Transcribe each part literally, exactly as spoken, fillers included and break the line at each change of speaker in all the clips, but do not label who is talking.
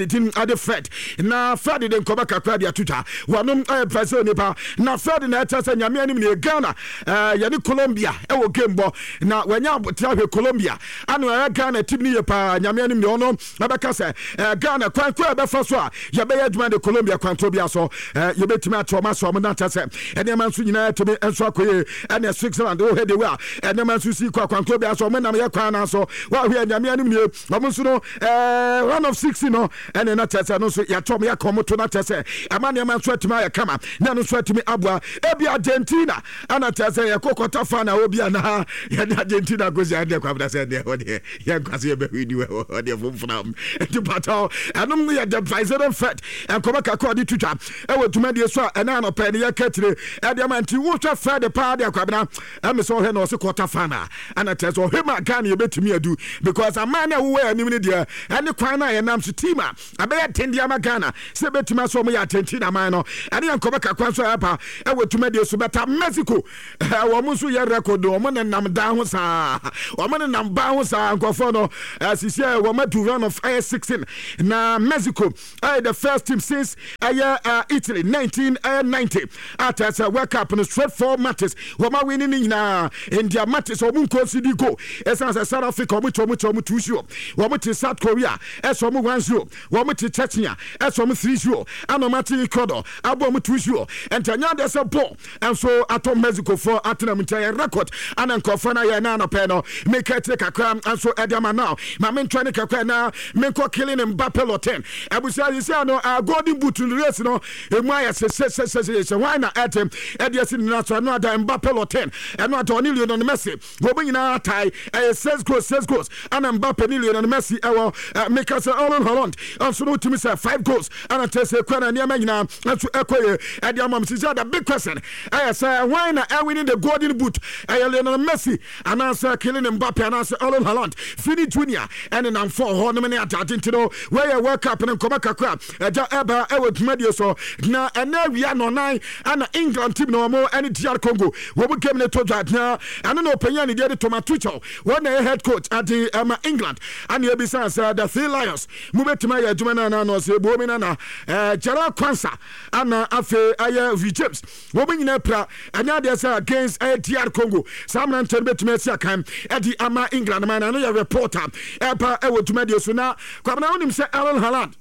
Din ade Fred na Fred de nkɔmɔ kakra de ato dwa. Wɔnom ɛyɛ Brazil nipa na Fred na ɛkyɛ sɛ Nyame anim ne Ghana ɛɛ yɛne Colombia ɛwɔ game bɔ na wɔanya abotra hwɛ Colombia ano ɛyɛ Ghana team ne yɛ paa. Nyame anim ne ɔno ɛbɛka sɛ ɛɛ Ghana kwan koro a ɛbɛfa so a yɛbɛyɛ adwuma de Colombia kwan to bia so ɛɛ yɛbɛtumi akyɛ ɔma so ɔmo na kyɛ sɛ nneɛma nso nyinaa tumi nso akɔ yie. Ɛne Switzerland wohwɛ de wei a nneɛma nso si kɔ akwan koro bia so ɔmo nam yɛ kwan na so wɔahwɛ Nyame anim nie ɔmo nso no ɛɛ round of sixteen no ɛne na kyerɛ sɛ no nso yɛatɔ ɔmo yɛaka ɔmo to na kyerɛ sɛ ɛma nneɛma nso atumi ayɛ kama na ɛno nso atumi aboa. Ebi Argentina ɛna kyerɛ sɛ yɛkɔ quarter final obi a na yɛne Argentina kɔsi adeɛ kwabena sɛ deɛ hɔ deɛ yɛnkwa sɛ yɛbɛhwɛ ni wɔ deɛ fomfram nti patɔ ɛnom no yɛ the Brazilian Fed nkɔmɔ kakra ɔde twitwa ɛwɔ dwumadie so a ɛna anɔpɛ ne yɛka kyire ɛdeɛ ma nti wohwɛ Fed paa deɛ kwabena ɛme sɛ ɔhwɛ na ɔse quarter final ɛna kyerɛ sɛ ɔhwɛ ma Ghana yɛbɛtumi adu because aman no a wowɔ anim no deɛ ɛne kwan no a yɛnam so team a ɛbɛyɛ den de ama Ghana sɛ ɛbɛtumi asɛ ɔmo yɛ Argentina man no ɛne yɛ nkɔmɔ kakra nso a ɛba ɛwɔ dwumadie so. Bɛta Mexico, wɔn nso yɛ record, wɔn nenam dan ho saa, wɔn nenam ban ho saa. Nkɔfoɔ no sisi a wɔn adu round of ɛyɛ sixteen na Mexico ɛyɛ the first team since ɛyɛ Italy nineteen ninety a kyerɛ sɛ World Cup no straight four matches wɔn awin ne nyinaa. India matches wɔn nkɔ go ɛsan sɛ South Africa wɔn kyɛ wɔn kyɛ wɔn two zero, wɔn te South Korea ɛsɛ wɔn one zero, wɔn te Chechnya ɛsɛ wɔn three zero, ɛna wɔn ate Ecuador abɔ wɔn two zero. Nti ɛnyɛ adeɛ sɛ ball nso atɔ Mexico foɔ atena mu nkyɛn yɛ record ana nkurɔfoɔ no ayɛ na anɔpɛ no meka akyire kakra nso ɛde ama now ma mentwa ne kakra na menkɔ Kylian Mbappe Lottin. Abusua yi sɛ no uh, golden boot no race no emu ayɛ sesesesese. Hwan na ɛte ɛde asi ne nan so? Ɛno ada Mbappe Lottin, ɛno ada ɔne Lionel Messi wɔn nyinaa tae ɛyɛ six goals, six goals ɛna Mbappe ne Lionel Messi ɛwɔ. Meka sɛ Erling Haaland nso no wotumi sɛ five goals ɛna kyerɛ sɛ kura na nneɛma nyinaa nso ɛkɔ yie ɛde ama m sisi. The big question ɛyɛ sɛ hwan na ɛwinning the golden boot? Ɛyɛ Lionel Messi anaasɛ Kylian Mbappe anaasɛ Erling Haaland, Vini Junior ɛne namfo hɔ nom ne adade? Nti no wɔyɛ World Cup no nkɔmɔ kakra ɛgya ɛba ɛwɔ dwumadie so na ɛnɛ awia nɔnan ɛna England team na wɔn ɛne D R Congo wɔn game ne to dwa na ɛno na ɔpanyin a ne deɛ de Thomas Tuchel wɔn na ɛyɛ head coach ade ɛma England ɛna ebisa sɛ the Three Lions mo bɛtumi ayɛ adwuma no anaa na ɔsɛ ebuo mi nana ɛɛ Jarell Quansah ana afei ɛyɛ Reece James wɔn nyinaa pira. Ɛnyɛ adeɛ sɛ against ɛyɛ D R Congo saa mmeranteɛ no bɛtumi asi akan ɛde ama England man. Ɛno yɛ reporter ɛba ɛwɔ dwumadie so na Kwabena wonim sɛ Erling Haaland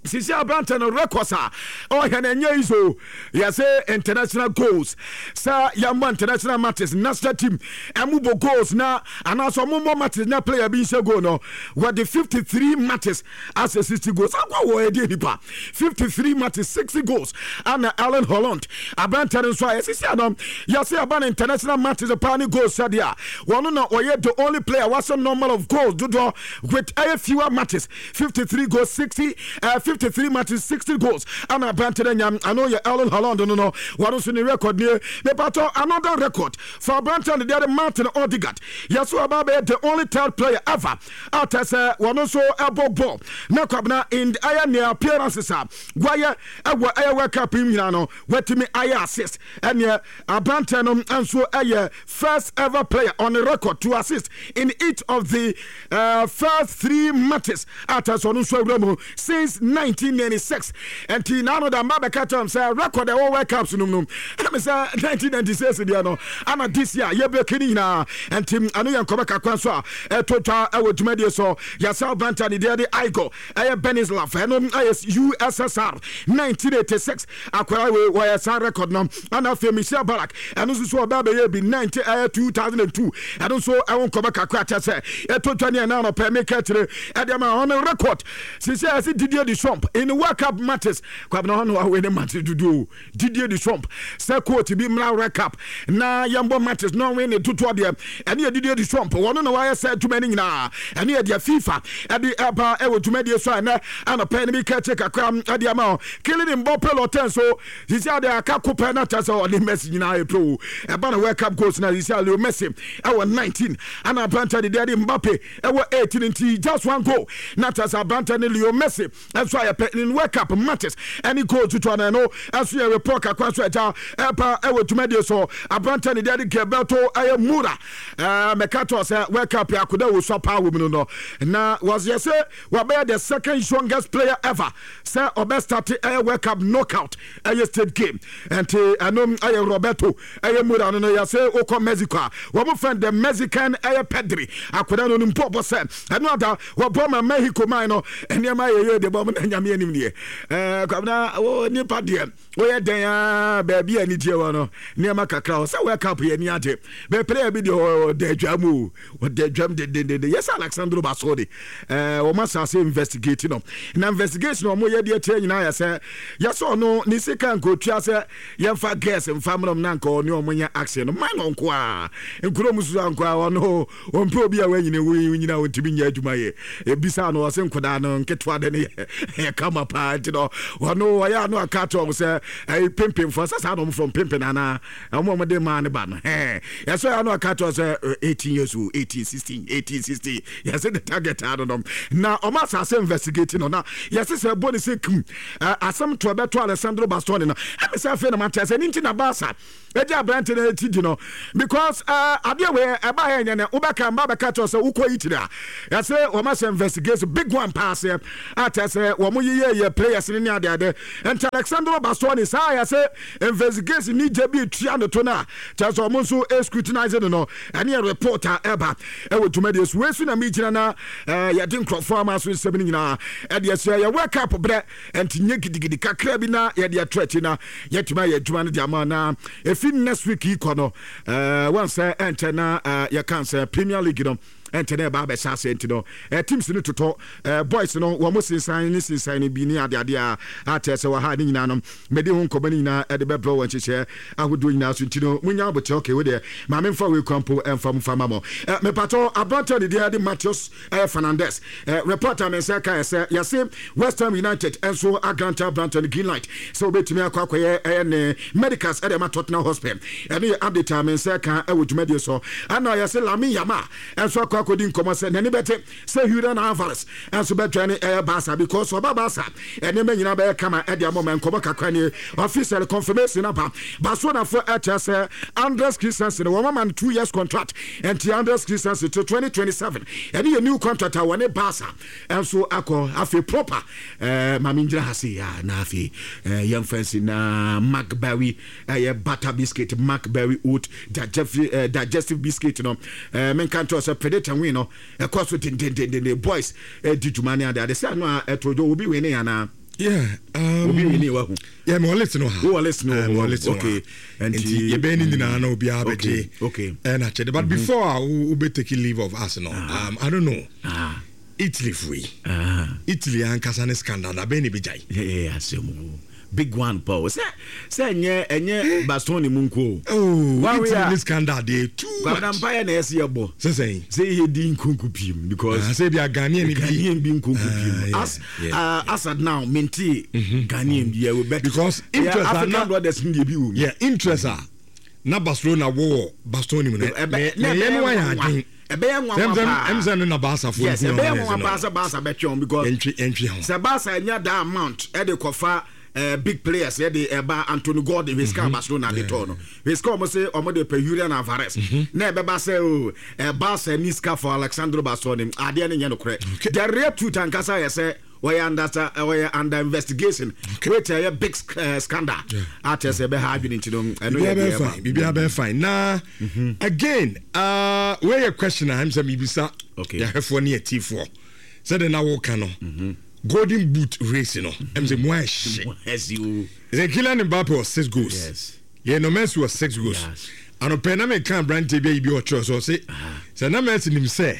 sisi aberante no records a ɔhwɛ no ɛnyɛ yi so yɛsɛ international goals sɛ yɛmmɔ international matches, national team ɛmu bɔ goals na anaasɛ ɔmommɔ matches na player bi nhyɛ goal no, wɔde fifty-three matches asɛ sixty goals akɔ wɔ ɛdeɛ nipa fifty-three matches, sixty goals ana Erling Haaland aberante no nso a yɛsisi ano yɛsɛ yɛba no international matches paa ne goals sɛdeɛ a wɔno na ɔyɛ the only player wasɛ number of goals dodoɔ with ɛyɛ fewer matches, fifty-three goals, sixty uh, fifty-three matches, sixty goals ana aberante no nya. Ano yɛ Erling Haaland no no wɔno nso ne record nie. Mepatɔ another record for aberante no deɛ de Martin Odegaard yɛso ɔba bɛyɛ the only third player ever a kyerɛ sɛ wɔno nso ɛbɔ ball na Kwabena in ɛyɛ ne appearances a wɔayɛ ɛwɔ ɛyɛ World Cup yi nyinaa no wɔatumi ayɛ assist. Ɛneɛ aberante no nso ɛyɛ first ever player on the record to assist in each of the uh, first three matches a kyerɛ sɛ ɔno nso awura mu since nineteen ninety-six. Nti naano da mba bɛka kyerɛ m sɛ record ɛwɔ World Cups no mu no ɛme sɛ nineteen ninety-six deɛ no ana this year yɛbɛki no nyinaa. Nti ɛno yɛ nkɔmɛ kakra nso a ɛto twa ɛwɔ dwumadie so. Yɛsɛ aberante ne deɛ de Igor ɛyɛ Benislav, ɛno ɛyɛ U S S R nineteen eighty-six akwara wei wɔyɛ saa record no. Ana afei Michel Ballack ɛno nso so ɔbɛ bɛyɛ bi nineteen ɛyɛ two thousand two. Ɛno nso ɛwo nkɔmɛ kakra kyɛ sɛ ɛto twa ne ɛna anɔpɛ meka kyerɛ ɛde ama ɔno record sisi a yɛsɛ Didier Deschamps in World Cup matches. Kwabena hɔ no wawɛ ne matches dodo. Didier Deschamps sɛ coach bi mmra World Cup na yɛmbɔ matches na ɔwe ne dodoɔ deɛ ɛne yɛ Didier Deschamps. Wɔno na wayɛ sɛ adwuma no nyinaa ɛne yɛ deɛ FIFA ɛde ɛba ɛwɔ dwumadie so a ɛnɛ anɔpɛ no bi ka kyerɛ kakra ɛde ama o Kylian Mbappe Lottin so sisi ade aka kopɛ na kyerɛ sɛ ɔne Messi nyinaa yɛ pro. Ɛba na World Cup goals na sisi a Leo Messi ɛwɔ nineteen ana aberante de deɛ de Mbappe ɛwɔ eighteen, nti just one goal na kyerɛ sɛ aberante ne Leo Messi ɛnso ayɛ pɛ in World Cup matches ɛne goal tutu ana. Ɛno ɛso yɛ report kakra so ɛgya ɛpa ɛwɔ dwumadie so. Aberantɛ ne deɛ de Gilberto ɛyɛ Mura, ɛɛ mɛka kyerɛ sɛ World Cup yɛ akoda wɔ sua paa wɔ mu no no na wɔyɛ sɛ wɔbɛyɛ the second youngest player ever sɛ ɔbɛ start ɛyɛ World Cup knockout ɛyɛ stage game. Nti ɛno ɛyɛ Roberto ɛyɛ Mura no no yɛsɛ wokɔ Mexico a, wɔn fɛn the Mexican ɛyɛ Pedri. Akoda no no mpo ɔbɔ sɛ ɛno ada wɔbɔ ma Mexico man no, nneɛma yɛ yɛ de bɔ mo na Nyame anim deɛ. ɛɛ kwabena wo nipa deɛ, woyɛ dɛn a, baabi a anigyeɛ wɔ no, nneɛma kakra hɔ sɛ World Cup yɛ ni agye bɛɛ player bi deɛ, ɔda adwa mu o, ɔda adwam dendendende. Yɛsɛ Alexandro Bastoni, ɛɛ wɔn asase investigate no na investigation a wɔn yɛ deɛ kyerɛ nyinaa yɛ sɛ yɛsɛ ɔno ne sika nkotua sɛ yɛmfa girls mfa mmerɛm na nka ɔne ɔmo nyɛ action no man no nko a nkuro mu soso nko a ɔno ɔmpɛ obi a wanyini nyina ɔntumi nyɛ adwuma yɛ. Ebisa no, ɔse nkodaa no nketewa de no yɛ yɛ kama paa, nti no ɔno ɔyɛ ano aka kyerɛ ɔmo sɛ ɛyi pimpimfoɔ sɛ saa na ɔmo fɔ pimpin anaa ɔmo ɔmo de maa ne ba no hɛn. Yɛsɛ ɔyɛ ano aka kyerɛ sɛ eighteen years old, eighteen, sixteen, eighteen, sixteen, yɛsɛ the target ano no na ɔmo asase investigate no na yɛsɛ sɛ ɛbɔ ne sɛ kum asɛm to ɛbɛto Alessandro Bastoni no. Ɛmi sɛ afei na ma kyerɛ sɛ ne nti na Baasa ɛgye aberante no ti di no because adeɛ wei ɛba yɛ nyɛ nɛ wobɛka mba bɛka kyerɛ sɛ wokɔ Italy a, yɛsɛ wɔn ahyɛ investigation big one paa seɛ akyɛ sɛ wɔn yiyɛ yɛ players ne ne adeade. Nti Alessandro Bastoni saa yɛsɛ investigation ni gye bi tua ne to no a kyerɛ sɛ wɔn nso scrutinize no no ɛne yɛ report a ɛba ɛwɔ dwumadie so. Wei so na mi gyina na yɛde nkurɔfoɔ ama so nsɛm no nyinaa ɛde ɛsɛ yɛ World Cup berɛ, nti nye gidigidi kakra bi na yɛde ato akyi na yɛtumi ayɛ adwuma no de ama. Na ɛfi next week yi kɔ no, wɔn sɛ ɛnkyɛ na yɛka sɛ Premier League no ɛnkyɛ na ɛba abɛhyɛ ase, nti no teams no totɔ boys no, wɔn sensan ne sensan no bi ne adeade a akyɛ sɛ wɔ ha ne nyinaa no, mɛde ho nkɔmɔ no nyinaa ɛde bɛbrɛ wɔn nhyehyɛ ahodoɔ nyinaa so. Nti no munya abotɛ. Okay, wo deɛ maame nfa wei kwan po ɛnfa mu fa ma mo. Mepatɔ aberante ne deɛ de Matheus ɛyɛ Fernandes, report a me nsa ka yɛ sɛ yɛse West Ham United nso agrant aberante no green light sɛ wobɛtumi akɔ akɔyɛ ɛyɛ ne medicals ɛde ma Tottenham Hotspur. Ɛno yɛ update a me nsa ka ɛwɔ dwumadie so. Ɛna yɛse Lamine Yamal ɛnso akɔ akɔdi nkɔmmɔ sɛ n'ani bɛte sɛ Julian Alvarez ɛnso bɛtwa ne ɛyɛ Barca, because ɔba Barca, ɛnneɛma nyinaa bɛyɛ kama ɛde ama ɔma. Nkɔmmɔ kakra nie, official confirmation aba. Barcelonafoɔ ɛkyerɛ sɛ Andreas Christensen, wɔn ama no two years contract, ɛnti Andreas Christensen to twenty twenty-seven, ɛne yɛ new contract a wɔne Barca ɛnso akɔ. Afei proper ɛɛ maame ngyina ha se ya na afei ɛɛ yɛmfa nsi na Macberry ɛyɛ butter biscuit, Macberry oat digestive ɛɛ digestive biscuit no, ɛɛ menka nkyɛn sɛ predict and win no ɛkɔ so dendendenden. Boys ɛdi dwuma ne ade ade sɛ ano a ɛto dwo obi win ne anaa?
Yeah, um,
obi win ne wahu?
Yeah, mewɔ list no ha.
Wowɔ list no?
Uh, mewɔ list no
okay
ha. Nti yɛbɛyɛ ne nyinaa na obiara bɛgye
okay
ɛna kyɛde. But before a wo wobɛ take leave of us no, um, I don't know,
ah
Italy fo yi,
ah
Italy ankasa ne scandal da bɛn ne bɛgyae?
Yeah, asɛm o, big one pa o, sɛ sɛ ɛnyɛ ɛnyɛ Bastoni mu nko o.
Oh,
One way
Italy
a
ne scandal deɛ too
Kwabena
much.
mpaeɛ na ɛsɛ yɛbɔ
sɛ sɛn?
Sɛ yɛdi nkonko pii because
Ah, sɛ bi a Ghanaian bi
Ghanaian bi nkonko
Ah,
pii
yeah,
as
yeah.
uh, as at now mente Ghanaian bi yɛ but
Because
yeah,
interest a
African
na-
brothers ni deɛ bi wɔ mu.
Yeah, interest a na Barcelona wɔ Bastoni mu no,
Ɛbɛ-
ne
na
ne yɛ no
ɛbɛyɛ
ayɛ
nwanwa.
adwen.
Ɛbɛyɛ nwanwa paa.
Ɛm sɛ no na Barca fo
Yes, ɛbɛyɛ nwanwa paa sɛ Barca bɛtwe wɔn because
yɛntwe yɛntwe ho.
Sɛ Barca nya that amount ɛde kɔfa uh, big players, yɛde ɛba Anthony Gordon hwɛ sika Barcelona de tɔɔ no, hwɛ sika ɔmo sɛ ɔmo de pɛ Julian Alvarez, na ɛbɛba sɛ o ɛ Barca ni sika for Alexandro Bastoni, adeɛ no nyɛ nokorɛ. The real truth ankasa yɛ sɛ wɔyɛ under wɔyɛ under investigation which ɛyɛ big uh, scandal akyɛ sɛ ɛbɛha adwene, nti no ɛno yɛ
biribiara
deɛ
bɛyɛ
ɛba.
Fine, biribiara bɛyɛ fine. Na again, uh, wei yɛ question a ɛm sɛ miribisa
Okay.
yɛahwɛfoɔ ne yɛtifoɔ. Sɛde na woka no, Golden Boot race no, ɛm sɛ mu ayɛ hye.
Ɛsi o.
Sɛ Kylian Mbappe wɔ six goals,
Yes.
Lionel Messi wɔ six goals.
Yes.
Anɔpɛ na meka aberanteɛ bi ayi bi a ɔkyerɛ so, ɔse sɛ na Messi nim sɛ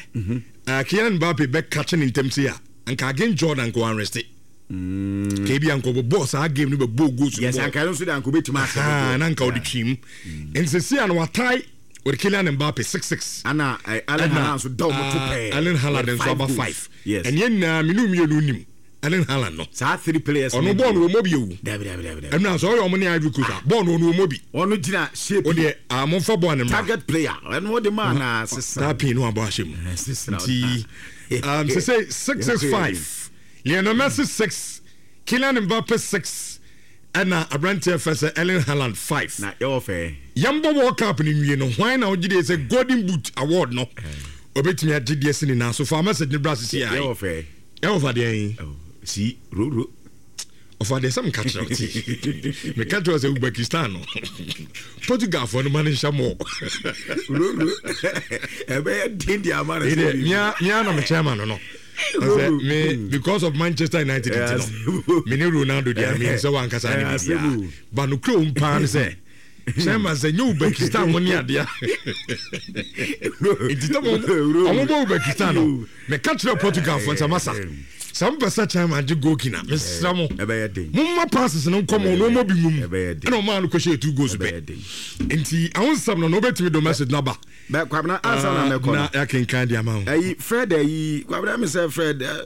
uh, Kylian Mbappe bɛka ne ntam sei a, anka against Jordan nka wanreste ka ebi anka ɔbɛbɔɔ saa game no, bɛbɔɔ goals no
Yes.
bɔɔ.
Anka ɛno nso de anka obɛtumi
Ah,
asɛ
na nka ɔde twim. Nti sɛsi a no watae wɔde Kylian Mbappe six six.
Ana Erling Haaland nso da ɔmo to pɛɛ.
Erling Haaland
with
nso
five
aba
goals.
five.
Yes.
Ɛneɛ nyinaa mene mmienu nim Erling Haaland no.
Saa three players.
Ɔno bɔɔl no wɔmmɔ bi ewu.
Dabi, dabi, dabi, dabi.
Ɛnu asɛ ɔyɛ ɔmo ne Ivory Coast a, bɔɔl no ɔno wɔmmɔ bi.
Ɔno gyina shape.
O deɛ a momfa bɔɔl no mmra.
Target player, ɛno wɔde maa na sesa.
Saa pii no abɔ ahyɛ mu.
Sesa.
Nti um, sɛ sɛ six six five, Lionel Messi six. Kylian Mbappe six, ɛna aberanteɛ fɛ sɛ Erling Haaland five.
Na yɛwɔ fɛ.
Yɛmbɔ World Cup no nwie no, hwan na wogye deɛ sɛ Golden Boot award no obɛtumi agye deɛ si ne nan so? Fa message no bra sisi a.
Yɛwɔ fɛ.
Ɛwɔ fa deɛ yi.
Si roro.
Ɔfa deɛ sɛ meka kyerɛ wo ti, meka kyerɛ wo sɛ Uzbekistan no, Portugalfoɔ no ma no nhyɛ mɔ.
Roro. Ɛbɛyɛ den de ama no.
Mea mea na mekyɛn ma no no sɛ me, because of Manchester United nti no, me ne Ronaldo deɛ, me sɛ wankasa ne biribiaa ba no kuro paa no sɛ chairman sɛ nyɛ Uzbekistan mo ne adeɛ nti tɛ ɔmo bɔ Uzbekistan no, meka kyerɛ Portugalfoɔ sɛ masa sɛ mpɛ sɛ chairman gye goal kina, mesrɛ mo,
Ɛbɛyɛ den.
Momma passes no nkɔmɔ na ɔmɔ bi ngum.
Ɛbɛyɛ den.
Ɛna ɔmaa no kɔhyɛ two goals pɛ.
Ɛbɛyɛ den.
Nti ahosɛm no na wobɛtumi do message no aba.
Bɛ Kwabena, ansa na mɛkɔ
na
no,
yɛakenkan de ama wo.
Ɛyi Fred, ɛyi Kwabena, mi sɛ Fred, ɛ,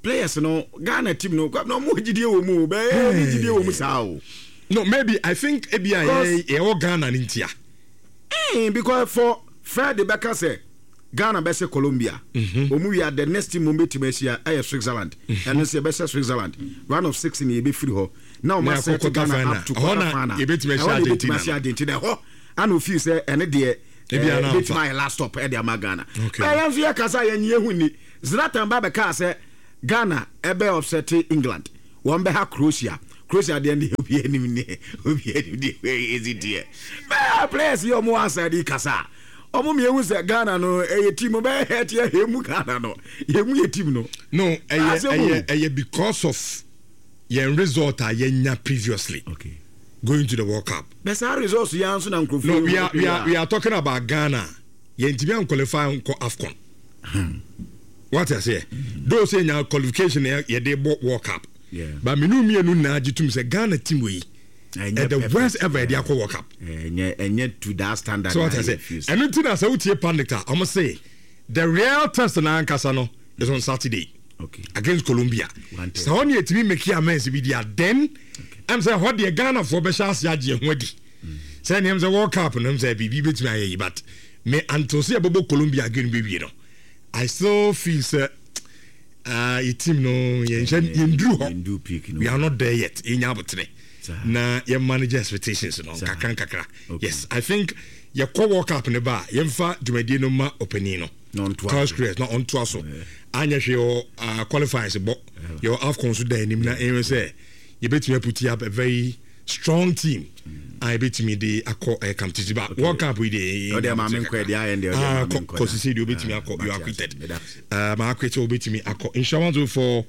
players no, Ghana team no, Kwabena, ɔmo gyidie wɔ mu o, bɛɛ ni gyidie wɔ mu saa o.
No, maybe I think ebi a
Because-
yɛ- yɛwɔ Ghana no ntia.
Eh, because for Fred bɛka sɛ Ghana bɛsɛ Colombia, ɔmu wia, the next team mo bɛtumi ahyia ɛyɛ Switzerland. Ɛno nso yɛbɛhyɛ Switzerland round of six ni, yɛbɛfiri hɔ na ɔma
Na akɔ
set
quarter
Ghana
final.
up to
Ɛhɔ
quarter
na
final.
yɛbɛtumi ahyia
Ɛhɔ na yɛbɛtumi
Argentina.
ahyia Argentina. Ɛhɔ ana ofii sɛ ɛne deɛ
Ebi
eh,
ana
bɛtumi
amfa.
ayɛ last stop ɛde ama Ghana.
Okay.
Bɛyɛ nso yɛkasa yɛnyi ehu ni Zlatan ba bɛkaa sɛ Ghana ɛbɛ upset England, wɔn bɛha Croatia. Croatia deɛ ne obi anim ne obi anim ne ezi deɛ bɛɛ players yi ɔmo outside yi kasa a, ɔmo mmienu sɛ Ghana no ɛyɛ team bɛyɛ ɛte ɛyɛ mu Ghana no yɛ mu yɛ team no.
No, ɛyɛ
Asɛm o.
ɛyɛ ɛyɛ because of yɛn result a yɛnya previously
Okay.
going to the World Cup.
Bɛ saa results yi nso na nkurɔfoɔ
No,
yi
we are we are we are talking about Ghana. Yɛntumi anqualify nkɔ AFCON. What I say, those say nya qualification yɛ yɛde bɔ World Cup.
Yeah.
But menu mmienu nyinaa gye tum sɛ Ghana team wei
Ɛnyɛ
ɛ the
perfect.
worst ever yɛde akɔ World Cup.
Ɛnyɛ ɛnyɛ to that standard.
So what
na
I say,
yɛ feel.
ɛno nti na sɛ wotie pundit a, ɔmo say the real test na ankasa no is on Saturday
Okay.
against Colombia.
One
Sɛ hɔ ne yɛtumi make amends bi di a, then ɛm sɛ hɔ deɛ Ghanafoɔ bɛhyɛ ase agye ho adi sɛ nneɛm sɛ World Cup no m sɛ biribi bɛtumi ayɛ yi. But me, until sɛ yɛbɛbɔ Colombia again bɛwie no, I still feel sɛ uh, yɛ team no, yɛnhyɛ yɛnduru hɔ.
Yɛndu peak no.
We are not there yet. Yɛnya abotere
Saa.
na yɛ manage expectations no nkakra nkakra.
Okay.
Yes, I think yɛkɔ World Cup ne ba a, yɛmfa dwumadie no ma ɔpanin no
Na ɔntoa
Carlos
so.
Queiroz na ɔntoa so. Anyɛ hwee wɔ uh, qualifiers bɔ, yɛwɔ AFCON so da anim na ɛyɛ sɛ yɛbɛtumi aput up a very strong team a yɛbɛtumi de akɔ ɛyɛ competition ba World Cup yi de.
Ɔde ama me nkɔ, ɛde ayɛ deɛ ɔde ama me nkɔ
kɔ sisi deɛ obɛtumi akɔ, you are acquitted. Uh, ma acquit obɛtumi akɔ. Nhyira one oh four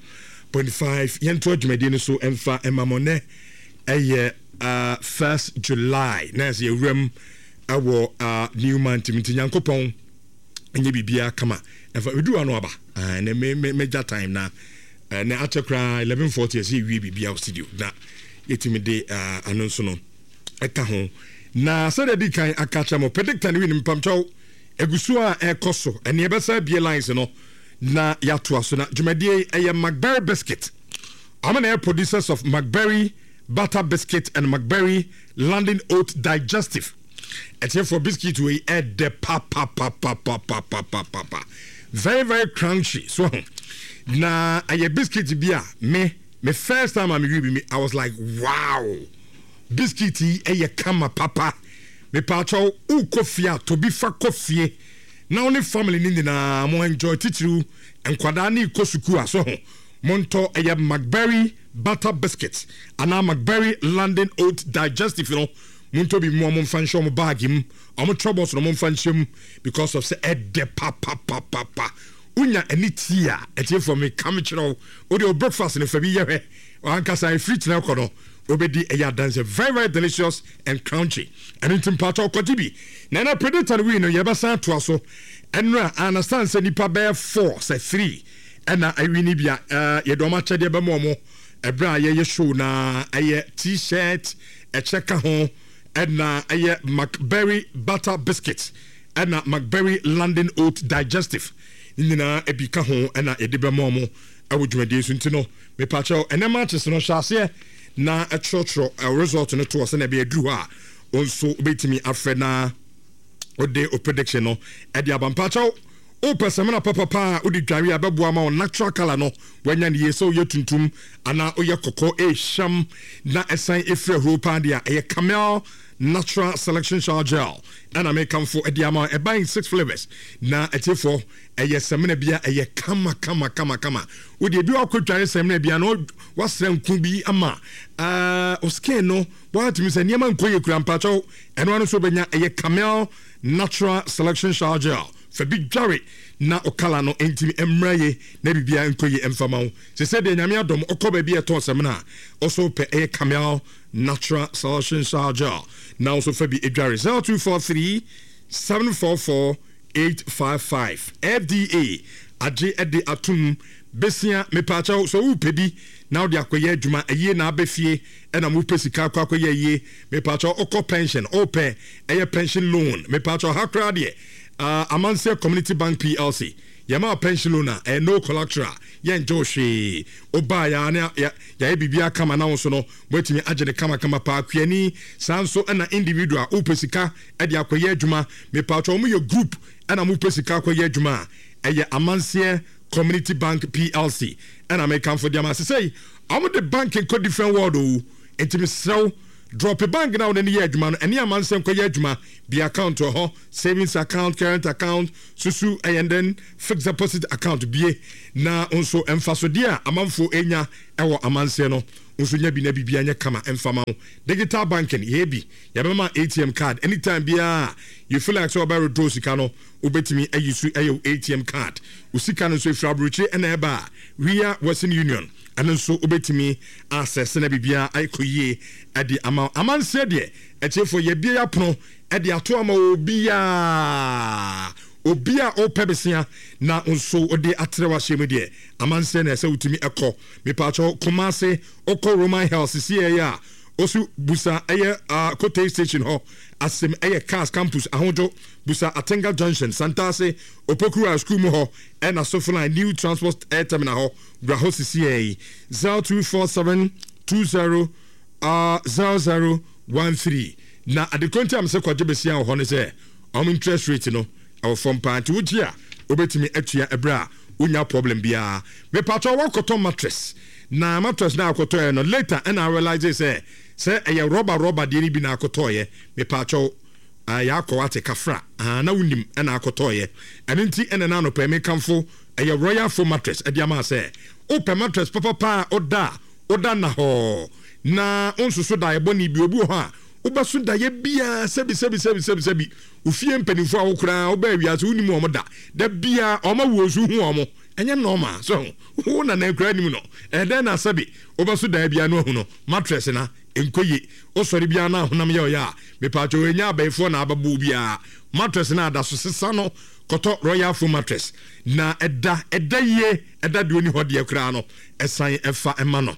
point five, yɛnto adwumadie no so ɛmfa ɛma mo. Nɛ ɛyɛ uh, first July na ɛsɛ yɛwuram ɛwɔ uh, new month mu, nti Nyankopɔn ɛnyɛ biribiara kama ɛfa ɛduru ano aba. Ah, ɛnɛ me me megya time na ɛnɛ akyɛ koraa eleven forty ɛsɛ yɛwie biribiara wɔ studio na yɛtumi de uh, ano nso no ɛka ho. Na sɛdeɛ di kan aka kyerɛ mo, predictor no wi no, mpamkyɛw, egu so a ɛkɔ so. Ɛne ɛbɛsa bie lines no na yɛatoa so. Na dwumadie yi ɛyɛ McBerry biscuit. Ɔmo na ɛyɛ producers of McBerry butter biscuit and McBerry London Oat Digestive. Ɛtiɛfoɔ, biscuit wei ɛdɛ papapapapapapapa, very very crunchy so ho. Na ɛyɛ biscuit bi a me me first time a me wi bi me, I was like, "Wow, biscuit yi ɛyɛ kama papa." Mepaakyɛw, wokɔ fie a, tobi fa kɔ fie na wo ne family no nyinaa mo enjoy. Titiriw nkwadaa ne kɔ sukuu a so ho, montɔ ɛyɛ McBerry butter biscuit anaa McBerry London Oat Digestive no. Montɔ bi mu a momfa nhyɛ ɔmo bag mu, ɔmo troubles no momfa nhyɛ mu because of sɛ ɛdɛ papapapapa. Wonya ani tii a, ɛtiefoɔ, meka me kyerɛ wo, wode wo breakfast no fa bi yɛ hwɛ ankasa, ɛfiri kyerɛ kɔ no wobɛdi ɛyɛ adanse. Very very delicious and crunchy. Ɛno nti mpatɔ kɔgye bi. Na ɛna predictor no wii no, yɛbɛsan atoa so. Ɛno a understand sɛ nipa bɛyɛ four sɛ three ɛna awi ni bi a ɛɛ yɛde ɔmo akyɛdeɛ bɛma ɔmo ɛberɛ a yɛyɛ show na ɛyɛ T-shirt, ɛkyɛ ka ho, ɛna ɛyɛ McBerry butter biscuit ɛna McBerry London Oat Digestive ne nyinaa ebi ka ho ɛna yɛde bɛma ɔmo ɛwɔ dwumadie so. Nti no mepakyɛw, ɛnɛ matches no, hyɛ aseɛ na ɛtwerɛtwerɛ ɛ result no toɔ sɛnea ɛbɛyɛ duru hɔ a, wo nso wobɛtumi afrɛ na wode o prediction no ɛde aba. Mpakyɛw, Wopɛ samina papapa a wode dware a bɛboa ma wo natural colour no wanya ne yie, sɛ woyɛ tuntum anaa woyɛ kɔkɔɔ, ɛhyam na ɛsan ɛfiri ahuro paa deɛ a, ɛyɛ Camel Natural Selection Shower Gel ɛna mekamfo ɛde ama. Ɛba in six flavours na ɛtiefoɔ, ɛyɛ samina bi a ɛyɛ kama kama kama kama. Wode ebi wakɔ dware samina bi a na wasra nku bi ama uh, skin no wɔatumi sɛ nneɛma nkɔ yɛ kura mpakyɛw, ɛno ano nso wobɛnya. Ɛyɛ Camel Natural Selection Shower Gel. Fa bi dware na ɔkala no ntimi mmra ye na biribiara nkɔ yie mfama wo. Sɛ sɛ deɛ Nyame adɔm ɔkɔ baabi a ɛtɔn samina a ɔso pɛ, ɛyɛ Camel Natural Selection Shower Gel na nso fa bi dware. zero two four three seven four four eight five five. F D A agye de atom besia. Mepaakyɛw, sɛ wopɛ bi na wode akɔyɛ adwuma ayie na abɛ fie ɛna mopɛ sika akɔ akɔyɛ ayie, mepaakyɛw, wokɔ pension, wopɛ ɛyɛ pension loan, mepaakyɛw, ha koraa deɛ uh, Amanseɛ Community Bank P L C yɛma pension loan a ɛyɛ no collateral, yɛngye wo hwee. Wobaa yɛa ne yɛayɛ biribiara kama na wo so no woatumi agye ne kamakama paa. Kuani saa nso ɛna individual wopɛ sika ɛde akɔyɛ adwuma, mepaakyɛw, ɔmo yɛ group ɛna mopɛ sika akɔyɛ adwuma a, ɛyɛ Amanseɛ Community Bank P L C ɛna mekamfo deɛ ma sesei ɔmo de bank nkɔ different world o. Nti mesrɛ, drop bank na wode ne yɛ adwuma no, ɛne Amanseɛ nkɔyɛ adwuma bi. Account wɔ hɔ, savings account, current account, susu ɛyɛ then fixed deposit account bie na nso mfasodeɛ a amanfoɔ enya ɛwɔ Amanseɛ no nso nya bi na biribi anyɛ kama mfama wo. Digital banking yɛ bi, yɛbɛma A T M card anytime biara you feel like sɛ ɔbɛ withdraw sika no, wobɛtumi ayi so ɛyɛ wo A T M card. Wo sika no nso efiri aburokyire ɛna ɛba a, wia Western Union, ɛno nso wobɛtumi asɛsɛ na biribiara ayɛkɔ yie ɛde ama. Amanseɛ deɛ, ɛkyɛfoɔ, yɛbie apono ɛde ato ama obiara. Obi a ɔpɛ besia na nso ɔde atrɛ wahyɛ mu deɛ, amanseɛ na ɛsɛ wotumi ɛkɔ. Mepaakyɛw, Kumase, ɔkɔ Roman Health sisi ɛyɛ a osu busa ɛyɛ uh, Kote Station hɔ asɛm, ɛyɛ Cars Campus Ahodwo, busa Atenga Junction, Santase Opokura school mu hɔ, ɛna Sofoline New Transport Air Terminal hɔ. Wura hɔ sisi ɛyi zero two four seven two zero uh, zero zero one three. Na adekonti a mesɛ kɔgye besia wɔ hɔ no sɛ ɔmo interest rate no ɛwɔ fam paa, nti wogye a wobɛtumi atua ɛberɛ a wonya problem biara. Mepatɔ wakɔtɔ mattress na mattress na akɔtɔɛ no later ɛna realize sɛ sɛ ɛyɛ rɔba rɔba deɛ no bi na akɔtɔɔyɛ. Mepatɔ yɛakɔ wate kafra na wonim ɛna akɔtɔɔyɛ. Ɛno nti ɛna na anɔpɛ mekamfo ɛyɛ Royal Foam Mattress ɛde ama sɛ wopɛ mattress papapa a woda a woda na hɔ na wonsoso da ɛbɔ ne bi. Obi wɔ hɔ a wobɛso daeɛ biara, sɛbi sɛbi sɛbi sɛbi sɛbi, ofie mpanimfoɔ a wokora wobɛɛ wiase wonim wɔn da da biara ɔma wuo so hu wɔn, ɛnyɛ normal so wo nana nkura anim no ɛdɛn na sɛbi wobɛso daeɛ biara no ahu no mattress na nkɔ ye. Wosɔre biara na ahonam yɛ ɔyɛ a, mepatwa ɛnya abɛɛfoɔ na abɛbɔ biara mattress na ada so sesa no, kɔtɔ Royal Foam Mattress na ɛda ɛda yie, ɛda deɛ oni hɔ deɛ koraa no ɛsan ɛfa ɛma no.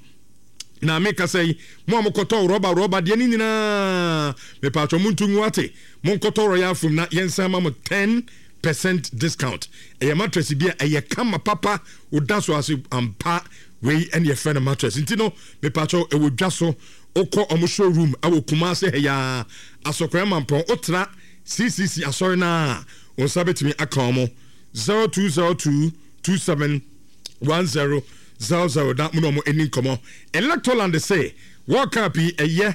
Na meka sɛ yi, mo a mokɔtɔ rɔba rɔba deɛ no nyinaa, mepatwɛ mo ntu ngu ate, monkɔtɔ Royal Foam na yɛnsan ma mo ten percent discount. Ɛyɛ mattress bi a ɛyɛ kama papa, woda so ase ampa. Wei ɛne yɛfrɛ no mattress. Nti no mepatwɛ, ɛwɔ dwa so, wokɔ ɔmo showroom ɛwɔ Kumase ha yaa Asɔkora Mampɔn, wotra C C C asɔre no a, wo nsa bɛtumi aka ɔmo zero two zero two two seven one zero zero zero na mo na ɔmo ani nkɔmɔ. Electroland sɛ World Cup yi ɛyɛ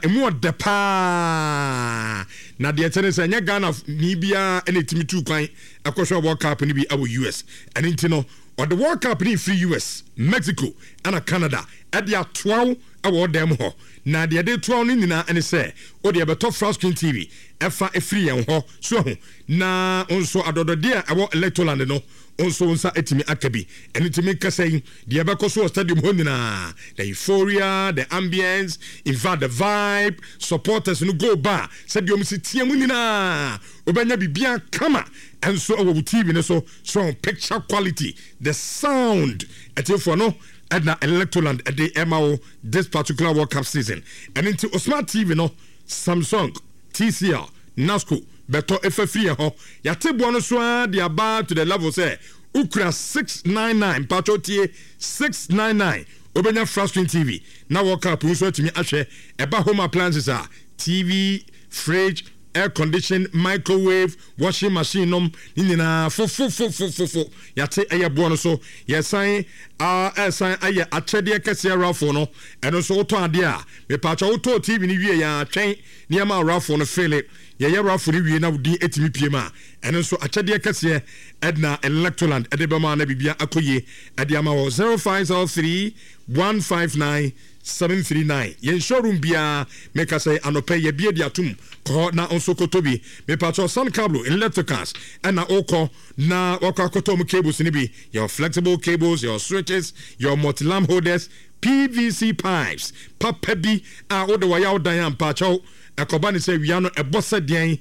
emu ɔdɛ paa, na deɛ ɛkyɛ ne sɛ ɛnyɛ Ghana ni biara ɛna ɛtumi tu kwan ɛkɔhwɛ World Cup no bi ɛwɔ U S. Ɛno nti no ɔde World Cup no firi U S, Mexico ɛna Canada ɛde atoaw ɛwɔ ɔdan mu hɔ. Na deɛ ɛde toaw no nyinaa ɛne sɛ wode ɛbɛtɔ flat screen T V ɛfa ɛfiri yɛn hɔ so ɛho na nso adɔdɔdeɛ a ɛwɔ Electroland no nso nsa etumi aka bi. Ɛno ntumi nkasa yi deɛ ɛbɛkɔ so wɔ stadium hɔ nyinaa, the euphoria, the ambience, in fact the vibe, supporters no go ba sɛdeɛ wɔn si tie mu nyinaa, wobɛnya biribiara kama. Ɛnso ɛwɔ wo T V no so so picture quality, the sound, ɛtiefoɔ no ɛna Electroland ɛde ɛma wo this particular World Cup season. Ɛno nti o smart T V no, Samsung, T C L, Nasco, bɛtɔ efa firi yɛ hɔ. Yɛate boɔ no so ara de aba to the level sɛ wokura six nine nine, mpatwɔ tie, six nine nine, wobɛnya flat screen T V na World Cup nso atumi ahwɛ. Ɛba home appliances a, T V, fridge, Air condition, microwave, washing machine nom ne nyinaa fofofofofofo yɛate ɛyɛ boɔ no so. Yɛsan ɛsan ayɛ akyɛdeɛ kɛseɛ, raffle no. Ɛno nso wotɔ adeɛ a, mepaakyɛ, wotɔɔ T V no wie yɛ atwɛn nneɛma a raffle no fele. Yɛyɛ raffle no wie na wodin ɛtumi pie mu a, ɛno nso akyɛdeɛ kɛseɛ ɛdina Electroland ɛde bɛma na biribia akɔ yie ɛde ama wɔ zero five zero three one five nine seven three nine. Yɛn showroom biara, meka sɛ anɔpɛ yɛbie de atom kɔ hɔ na nso kɔtɔ bi. Mepatwɛ, Sun Cable Electricals ɛna wokɔ na wakɔ akɔtɔ mu cables no bi. Yɛwɔ flexible cables, yɛwɔ switches, yɛwɔ multi lamp holders, P V C pipes papa bi a wode wɔyɛ wo dan a, mpakyɛw, ɛkɔba ne sɛ wia no ɛbɔ sɛ deɛn,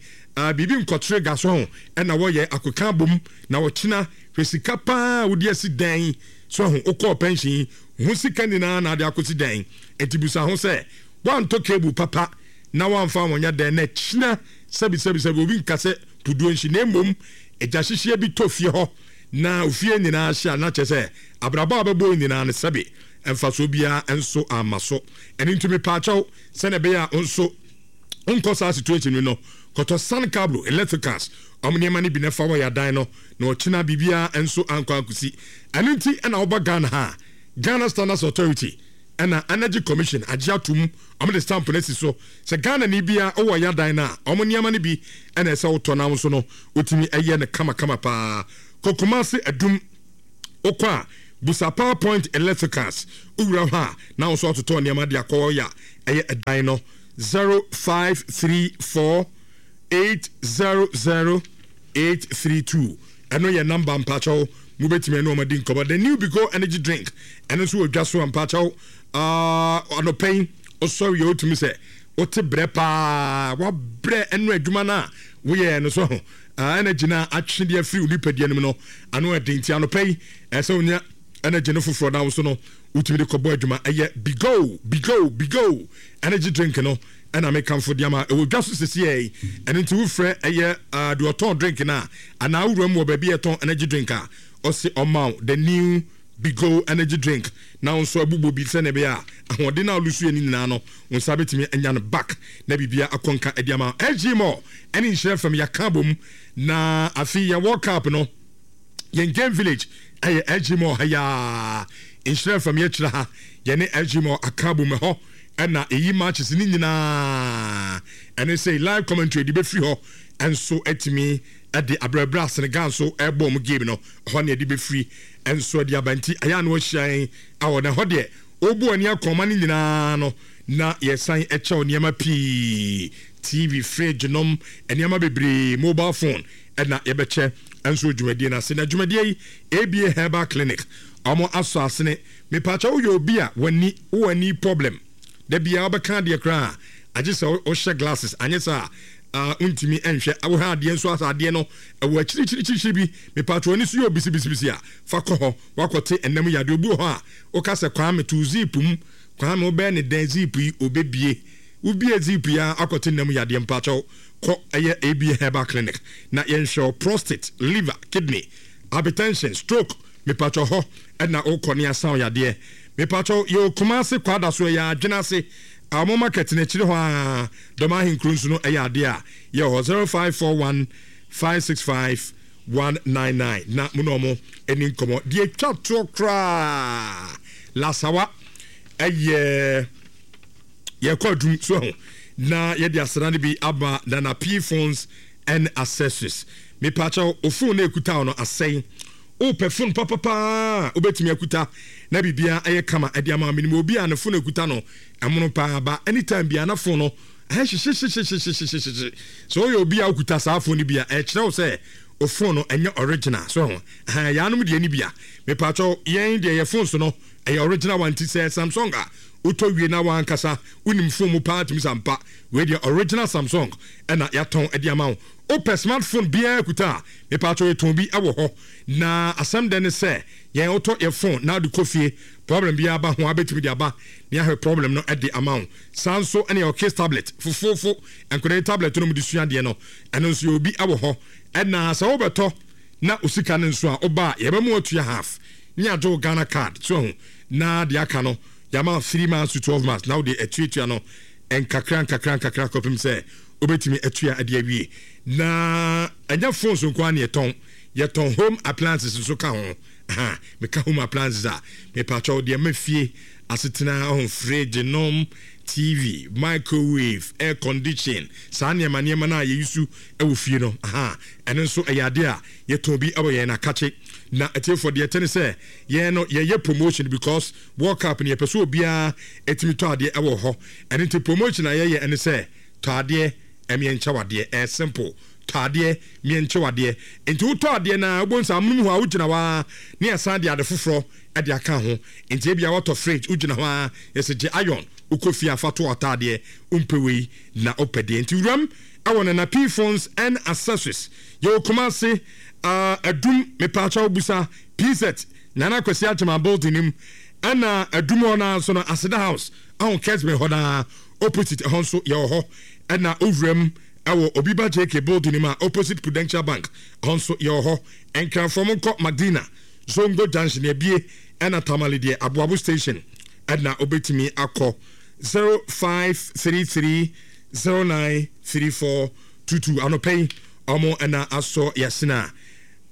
biribi nkɔkyere ga so ho ɛna wɔyɛ akoka bom na wɔkyena. Hwɛ sika paa wode asi dan so ho, wokɔɔ pension ho sika nyinaa na ade akɔsi dan. Enti busa ho sɛ woantɔ cable papa na woamfa wɔnyɛ dan na kyina sɛbisɛbisɛbi obi nka sɛ puduo nhyi, na mmom agya hyehyeɛ bi tɔ fie hɔ na ofie nyinaa hye a, na kyerɛ sɛ abrabɔ a bɛbɔ nyinaa no, sɛbi, mfasoɔ biara nso ama so. Ɛno nti mepaakyɛw, sɛnea ɛbɛyɛ a nso nkɔ saa situation no, kɔtɔ Sun Cable Electricals ɔmo nneɛma no bi na fa wɔ yɛadan no na ɔkyena biribiara nso ankɔ ankosi. Ɛno nti ɛna woba Ghana ha, Ghana Standards Authority ɛna Energy Commission agye atom, ɔmo de stamp no asi so sɛ Ghana ni bia wowɔ yɛadan no a, ɔmo nneɛma no bi ɛna ɛsɛ wotɔ na nso no wotumi ɛyɛ no kamakama paa. Kokumase Adum, wokɔ a busa Power Point Electricals. Wowura hɔ a na wo nso atotɔ nneɛma de akɔ yɛ a ɛyɛ ɛdan no. zero five three four eight zero zero eight three two, ɛno yɛ number. Mpakyɛw, mobɛtumi ɛne ɔmadi nkɔmmɔ. The new Bigo energy drink, ɛno nso wɔ dwa so a, mpakyɛw, anɔpɛ yi wosɔre yɛ, wotumi sɛ wote brɛ paa, wabrɛ ɛno adwuma no a woyɛɛ no so ho, energy no a atwe de afiri wo nipadua no mu no ano ɛden. Nti anɔpɛ yi ɛsɛ wonya energy no foforɔ na wo so no wotumi de kɔbɔ adwuma. Ɛyɛ Bigo Bigo Bigo energy drink no ɛna mekamfo de ama. Ɛwɔ dwa so sesiɛ yi. Ɛno nti wofrɛ ɛyɛ deɛ ɔtɔn drink no a, anaa wowura mu wɔ baabi a ɛtɔn energy drink a, ɔse ɔma wo the new Bigo energy drink na wo nso abobɔ bi sɛnea ɛbɛyɛ a ahoɔden no a wolusu yɛ no nyinaa no, wo nsa bɛtumi anya no back na biribia akɔnka ɛde ama. S G Mall ɛne Nhyerɛ Fam yɛaka bom na afei yɛn World Cup no, yɛn game village ɛyɛ S G Mall ha yaa. Nhyerɛ Fam yɛkyerɛ ha, yɛne S G Mall aka bom. Ɛhɔ ɛna ɛyi matches ne nyinaa, ɛne sɛ live commentary de bɛfiri hɔ ɛnso atumi ɛde abrɛbrɛ a Senegal nso ɛbɔ ɔmo game no hɔ ne ɛde bɛfiri ɛnso ɛde aba. Nti ayɛ a na wahyia yɛn awɔ na ɛhɔ deɛ ɔbu ani akɔma no nyinaa no na yɛsan ɛkyɛw nneɛma pii, T V, fridge nom, nneɛma bebree, mobile phone ɛna yɛbɛkyɛ ɛnso dwumadie no ase. Na dwumadie yi, A B A Herbal Clinic ɔmo asɔ asene. Mepaakyɛ, woyɛ obi a w'ani, wowɔ ani problem da bia wobɛka adeɛ koraa agye sɛ wohyɛ glasses, anyɛ sɛ a wontumi nhwɛ, wohwɛ adeɛ nso asɛ adeɛ no ɛwɔ akyirikyirikyirikyiri bi. Mepaakyɛ, w'ani so yɛ obisibisibisi a, fa kɔ hɔ wakɔte ɛnam yi adeɛ. Obi wɔ hɔ a woka sɛ, "Kwame, to zip mu." Kwame, wobɛyɛ ne dɛn zip yi obɛbie? Wobie zip yi a, akɔte nam yadeɛ. Mpakyɛw, kɔ ɛyɛ A B A Herbal Clinic na yɛnhwɛ prostate, liver, kidney, hypertension, stroke. Mepatwɔ, hɔ ɛna wokɔ ne asan yadeɛ. Mepatwɔ, yɛwɔ Kumase Kwada so, ɛyɛ Adwene ase ɔmo market n'akyiri hɔ a dɔm ahenkuro nso no ɛyɛ adeɛ a yɛwɔ hɔ. zero five four one five six five one nine nine na mo na ɔmo ani nkɔmɔ deɛ twa toɔ koraa. Lasawa ɛyɛ yɛkɔ adum so ho na yɛde asena no bi aba Nana P Phones and Accessories. Mepaakyɛw, o phone na ekuta wo no asɛn, wopɛ phone papapaa wobɛtumi akuta na biribiara ɛyɛ kama ɛde ama. Menim obi a ne phone ekuta no ɛmono paa ba, anytime bia na phone no ɛyɛ hyehyehyehyehyehyehye. Sɛ woyɛ obi a wokuta saa phone no bi a, ɛkyerɛ wo sɛ o phone no ɛnyɛ original so ho. Ɛhɛn yɛanom deɛ ni bi a, mepaakyɛw, yɛn deɛ yɛ phone so no ɛyɛ original one. Ti sɛ Samsung a wotɔ wie na wankasa wonim phone mu paa tumi sampa, wei deɛ original Samsung ɛna yɛatɔn ɛde ama wo. Wopɛ smartphone biara kuta a, mepaakyɛw, yɛtɔn bi ɛwɔ hɔ. Na asɛm dɛ ne sɛ yɛn wotɔ yɛ phone na wode kɔ fie, problem biara ba ho a, bɛtumi de aba ne ahwɛ problem no ɛde ama wo. Saa nso ɛne yɛwɔ case tablet fofoofo, nkwadaa tablet no mu de sua adeɛ no, ɛno nso yɛ obi ɛwɔ hɔ. Ɛna sɛ wobɛtɔ na osika no nso a, woba a yɛbɛma atua half ne agye wo Ghana Card so ho, na deɛ aka no yɛama three months to twelve months na wode atuatua no nkakra nkakra nkakra kɔpem sɛ Wobɛtumi atua ade awie. Na ɛnyɛ phones nko ara na yɛtɔn, yɛtɔn home appliances nso ka ho. Aha, meka home appliances a, mepakyɛw deɛ ma fie asetena ho, fridge nom, T V, microwave, air condition, saa nneɛma nneɛma no a yɛyi wɔ fie no. Aha, ɛno nso ɛyɛ adeɛ a yɛtɔn bi wɔ yɛn akakye. Na atiefoɔ, deɛ ɛtɛ ne sɛ yɛn no yɛyɛ promotion because World Cup no, yɛpɛ sɛ obiara ɛtumi tɔ adeɛ ɛwɔ hɔ. Ɛno nti promotion a yɛyɛ ɛne sɛ tɔ adeɛ, ɛmiɛnkyɛ wadeɛ. Ɛyɛ simple, tɔ adeɛ, miɛnkyɛ wadeɛ. Nti wotɔ adeɛ na wobɔ nsa amonom hɔ a, wogyina hɔ a ne yɛsan de ade foforɔ ɛde aka ho. Nti ebia watɔ fridge, wogyina hɔ a yɛsɛ gye iron, wokɔ fie afa to ataadeɛ, wompɛ wei na wopɛ deɛ. Nti wuram ɛwɔ Nana P Phones and Accessories. Yɛwɔ Kumase, uh, Adum. Mepaakyɛw, busa P Z Nana Kwasi Agyema building nim. Ɛna Adum hɔ naa nso no, Aseda House ahun Kesben hɔ naa opposite ɛhɔ nso yɛwɔ hɔ. Ɛna owuram ɛwɔ Obi Ba J K building nim a opposite Prudential Bank, ɛhɔ nso yɛwɔ hɔ. Nkranfoɔ, mo nkɔ Madina Zongo Junction ebie. Ɛna Tamale deɛ, Aboabo Station ɛna obetumi akɔ. Zero five three three zero nine three four two two. Anɔpɛ yi ɔmo ɛna asɔ yasina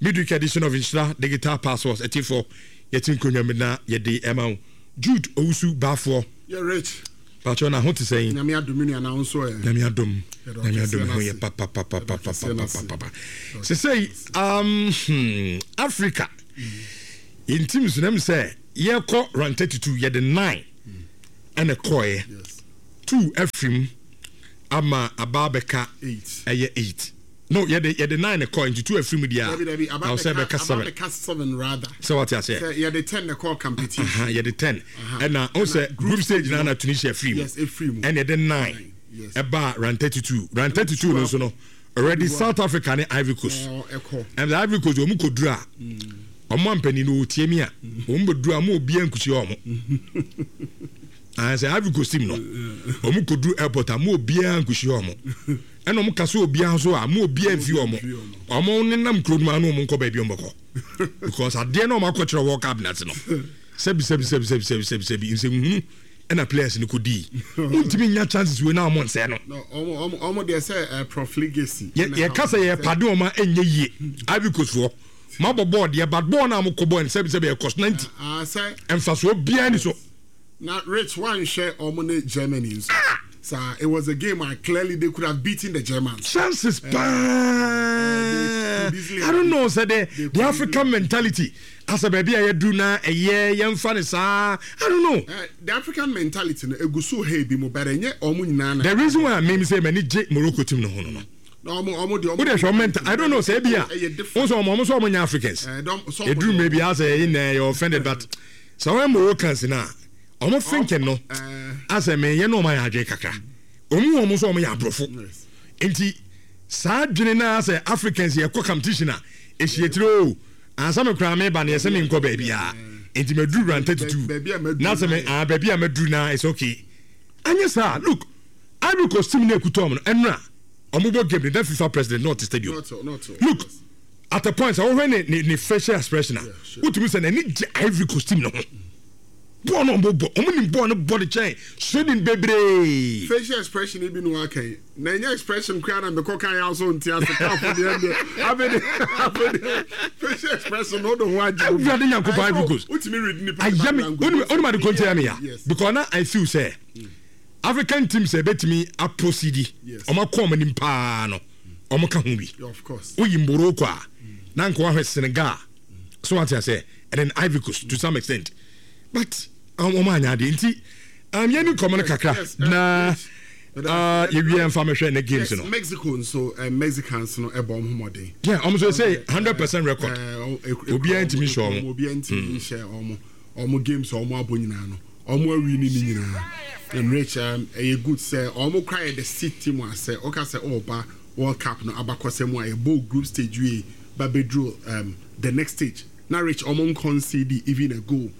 midweek edition of Nhyira Digital Passports. Ɛtifo, yɛte nkonnwa mu na yɛde ɛma wo. Jude Owusu Baafoɔ.
Yɛ Rich.
Patro, na ho te sɛn?
Nyame adom, nua, na wo nso ɛ?
Nyame adom, Nyame adom, ho yɛ papapapapapapapa. Sesei um, hmm, Africa yɛn team so nam sɛ yɛkɔ round thirty-two, yɛde nine ɛna kɔɛ, two afirim ama aba abɛka ɛyɛ eight. No, yɛde yɛde nine kɔ, nti two afirim deɛ a na ɔsɛ bɛka seven.
Bɛka seven rather.
Sɛ wate aseɛ?
Sɛ yɛde ten na kɔ competition.
Yɛde ten, ɛna ɔn sɛ group stage na na Tunisia firi mu.
Yes, efiri mu.
Ɛna yɛde nine ɛba round thirty two. Round thirty two no nso no, already South Africa ne Ivory Coast. Ɛna Ivory Coast wɔn kɔ duru a, wɔn ampanin no wɔtie mi a, wɔn bɛ duru a, wɔn obiara nkusi wɔn sɛ Ivory Coast team no, wɔn kɔ duru airport a, wɔn obiara nkusi wɔn. Ɛna wɔn kasa obiara nso a, wɔn obiara nfi wɔn wɔn nenam kuro no mu ano, wɔn nkɔ baabi wɔn bɛkɔ because adeɛ na wɔn akɔkyerɛ World Cup n'ase no, sɛbi sɛbi sɛbi sɛbi sɛbi sɛbi sɛbi, nsɛnhunu ɛna players no kɔ dii. Wontumi nya chances wei na wɔn nsɛn no.
Ɔmo deɛ sɛ profligacy.
Yɛ yɛ kasa yɛ pade wɔn a ɛnyɛ yie. Ivory Coast foɔ, mo abɔ bɔɔl deɛ, but bɔɔl naa mo kɔ bɔɔl no, sɛbi sɛbi, ɛkɔ ninety mfasoɔ biara ni so.
Na Rich, wanhwɛ ɔmo ne Germany nso saa? It was a game a clearly they could have beaten the Germans.
Chances paa. I don't know sɛ the the African mentality asɛ baabi a yɛdu na ɛyɛ yɛmfa ne saa, I don't know.
Uh, the African mentality no egu so ha ebi mu, but ɛnyɛ ɔmo nyinaa na.
The reason why mi sɛ m'ani gye Morocco team no ho no no
ɔmo ɔmo de
ɔmo. O de hwɛ ɔmo mental, I don't know sɛ ebi a o sɛ ɔmo ɔmo sɛ ɔmo nyɛ Africans eduru mmerɛ bi asɛ ɛyi na ɛyɛ offended, but sɛ ɔyɛ Moroccans na ɔmo thinking no asɛ mɛ yɛ no, ɔmo ayɛ adwene kakra, ɔmo wɔn nso ɔmo yɛ aborɔfo, nti saa adwene na asɛ Africans yɛ kɔ competition a ehyia tiri o, ansa mi koraa mi ba na yɛsɛ mi nkɔ baabi a, nti mɛ duru round thirty two na sɛ mɛ ah baabi a mɛ duru na it's okay. Anyɛ saa, look, Ivory Coast team na ekuta ɔmo no, ɛnura ɔmo bɔ game no na FIFA president na ɔte stadium. Look at the point sɛ wɔhwɛ ne ne ne facial expression a, wotumi sɛ n'ani gye Ivory Coast team no ho. Bɔɔl no ɔmo bɔ, ɔmo nim bɔɔl no bɔ de kyɛn Sweden bebree.
Facial expression bi no aka yi na ɛnyɛ expression koraa na mekɔ kan yɛ aso nti ase kaafo deɛ deɛ afei de afei de facial expression no do ho agye.
Awurade Nyankopɔn, Ivory Coast.
Wotumi read nipa.
Ayɛ mi onim ade ko ntia mi ya because na I feel sɛ African teams ɛbɛtumi aproceed, ɔmo akɔ ɔmo anim paa no, ɔmo ka ho bi. Woyi Morocco a, na nka wahwɛ Senegal so, wate ase, and then Ivory Coast to some extent, but ɔmo anya adeɛ. Nti um, yɛn ni nkɔmɔ no kakra na uh, yɛwie mfa mɛhwɛ ne games no.
Mexico nso, uh, Mexicans no ɛbɔ ɔmo ho mmɔden.
Yeah, ɔmo nso sɛ hundred percent record, obiara ntumi nhyɛ ɔmo.
Obiara ntumi nhyɛ ɔmo. Ɔmo games a ɔmo abɔ nyinaa no, ɔmo awi ne ne nyinaa. And Rich, um, ɛyɛ good sɛ ɔmo kora yɛ the seed team a sɛ ɔka sɛ ɔɔba World Cup no abakɔsɛ mu a yɛbɔ group stage wie ba bɛduru um, the next stage na Rich, ɔmo nconcede even a goal.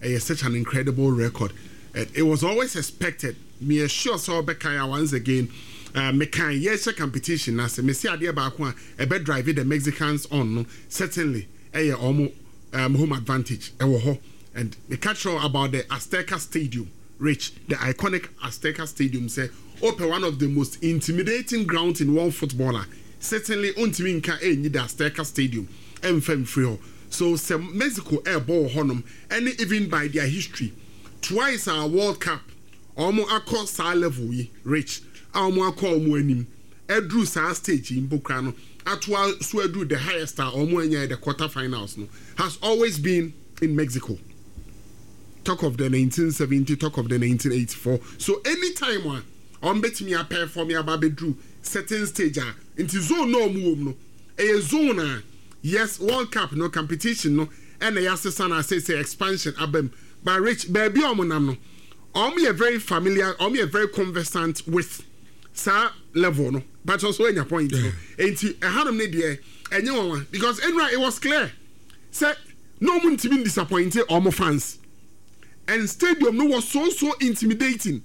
Ɛyɛ such an incredible record and it was always expected. Me sure sɛ ɔbɛka ya once again, uh, mekan yɛhyɛ competition na sɛ mesi adeɛ baako a ɛbɛ drive the Mexicans on no, certainly ɛyɛ ɔmo um, home advantage ɛwɔ hɔ. And meka kyerɛ about the Azteca Stadium. Rich, the iconic Azteca Stadium sɛ ɔpɛ one of the most intimidating grounds in world football a, certainly ɔntumi nka ɛnyi the Azteca Stadium ɛmfa mfiri hɔ. So sɛ Mexico ɛrebɔ wɔ hɔnom, ɛne even by their history, twice a World Cup ɔmo akɔ saa level yi, Rich, a ɔmo akɔ ɔmo anim ɛduru saa stage yi mpo kora no, atoa so aduru the highest a ɔmo anya the quarter finals no has always been in Mexico. Talk of the nineteen seventy, talk of the nineteen eighty-four. So anytime a ɔmo bɛtumi aperform aba abɛduru certain stage a, nti zone na ɔmo wɔ mu no, ɛyɛ zone a, yes, World Cup no competition no ɛna yɛasesa na asɛ sɛ expansion aba mu, but Rich, baabi a ɔmo nam no, ɔmo yɛ very familiar, ɔmo yɛ very conversant with saa level no. But also enya point no, nti ɛhanom ne deɛ ɛnyɛ wɔn because enura it was clear sɛ na ɔmo ntumi disappoint ɔmo fans, and stadium no was so so intimidating.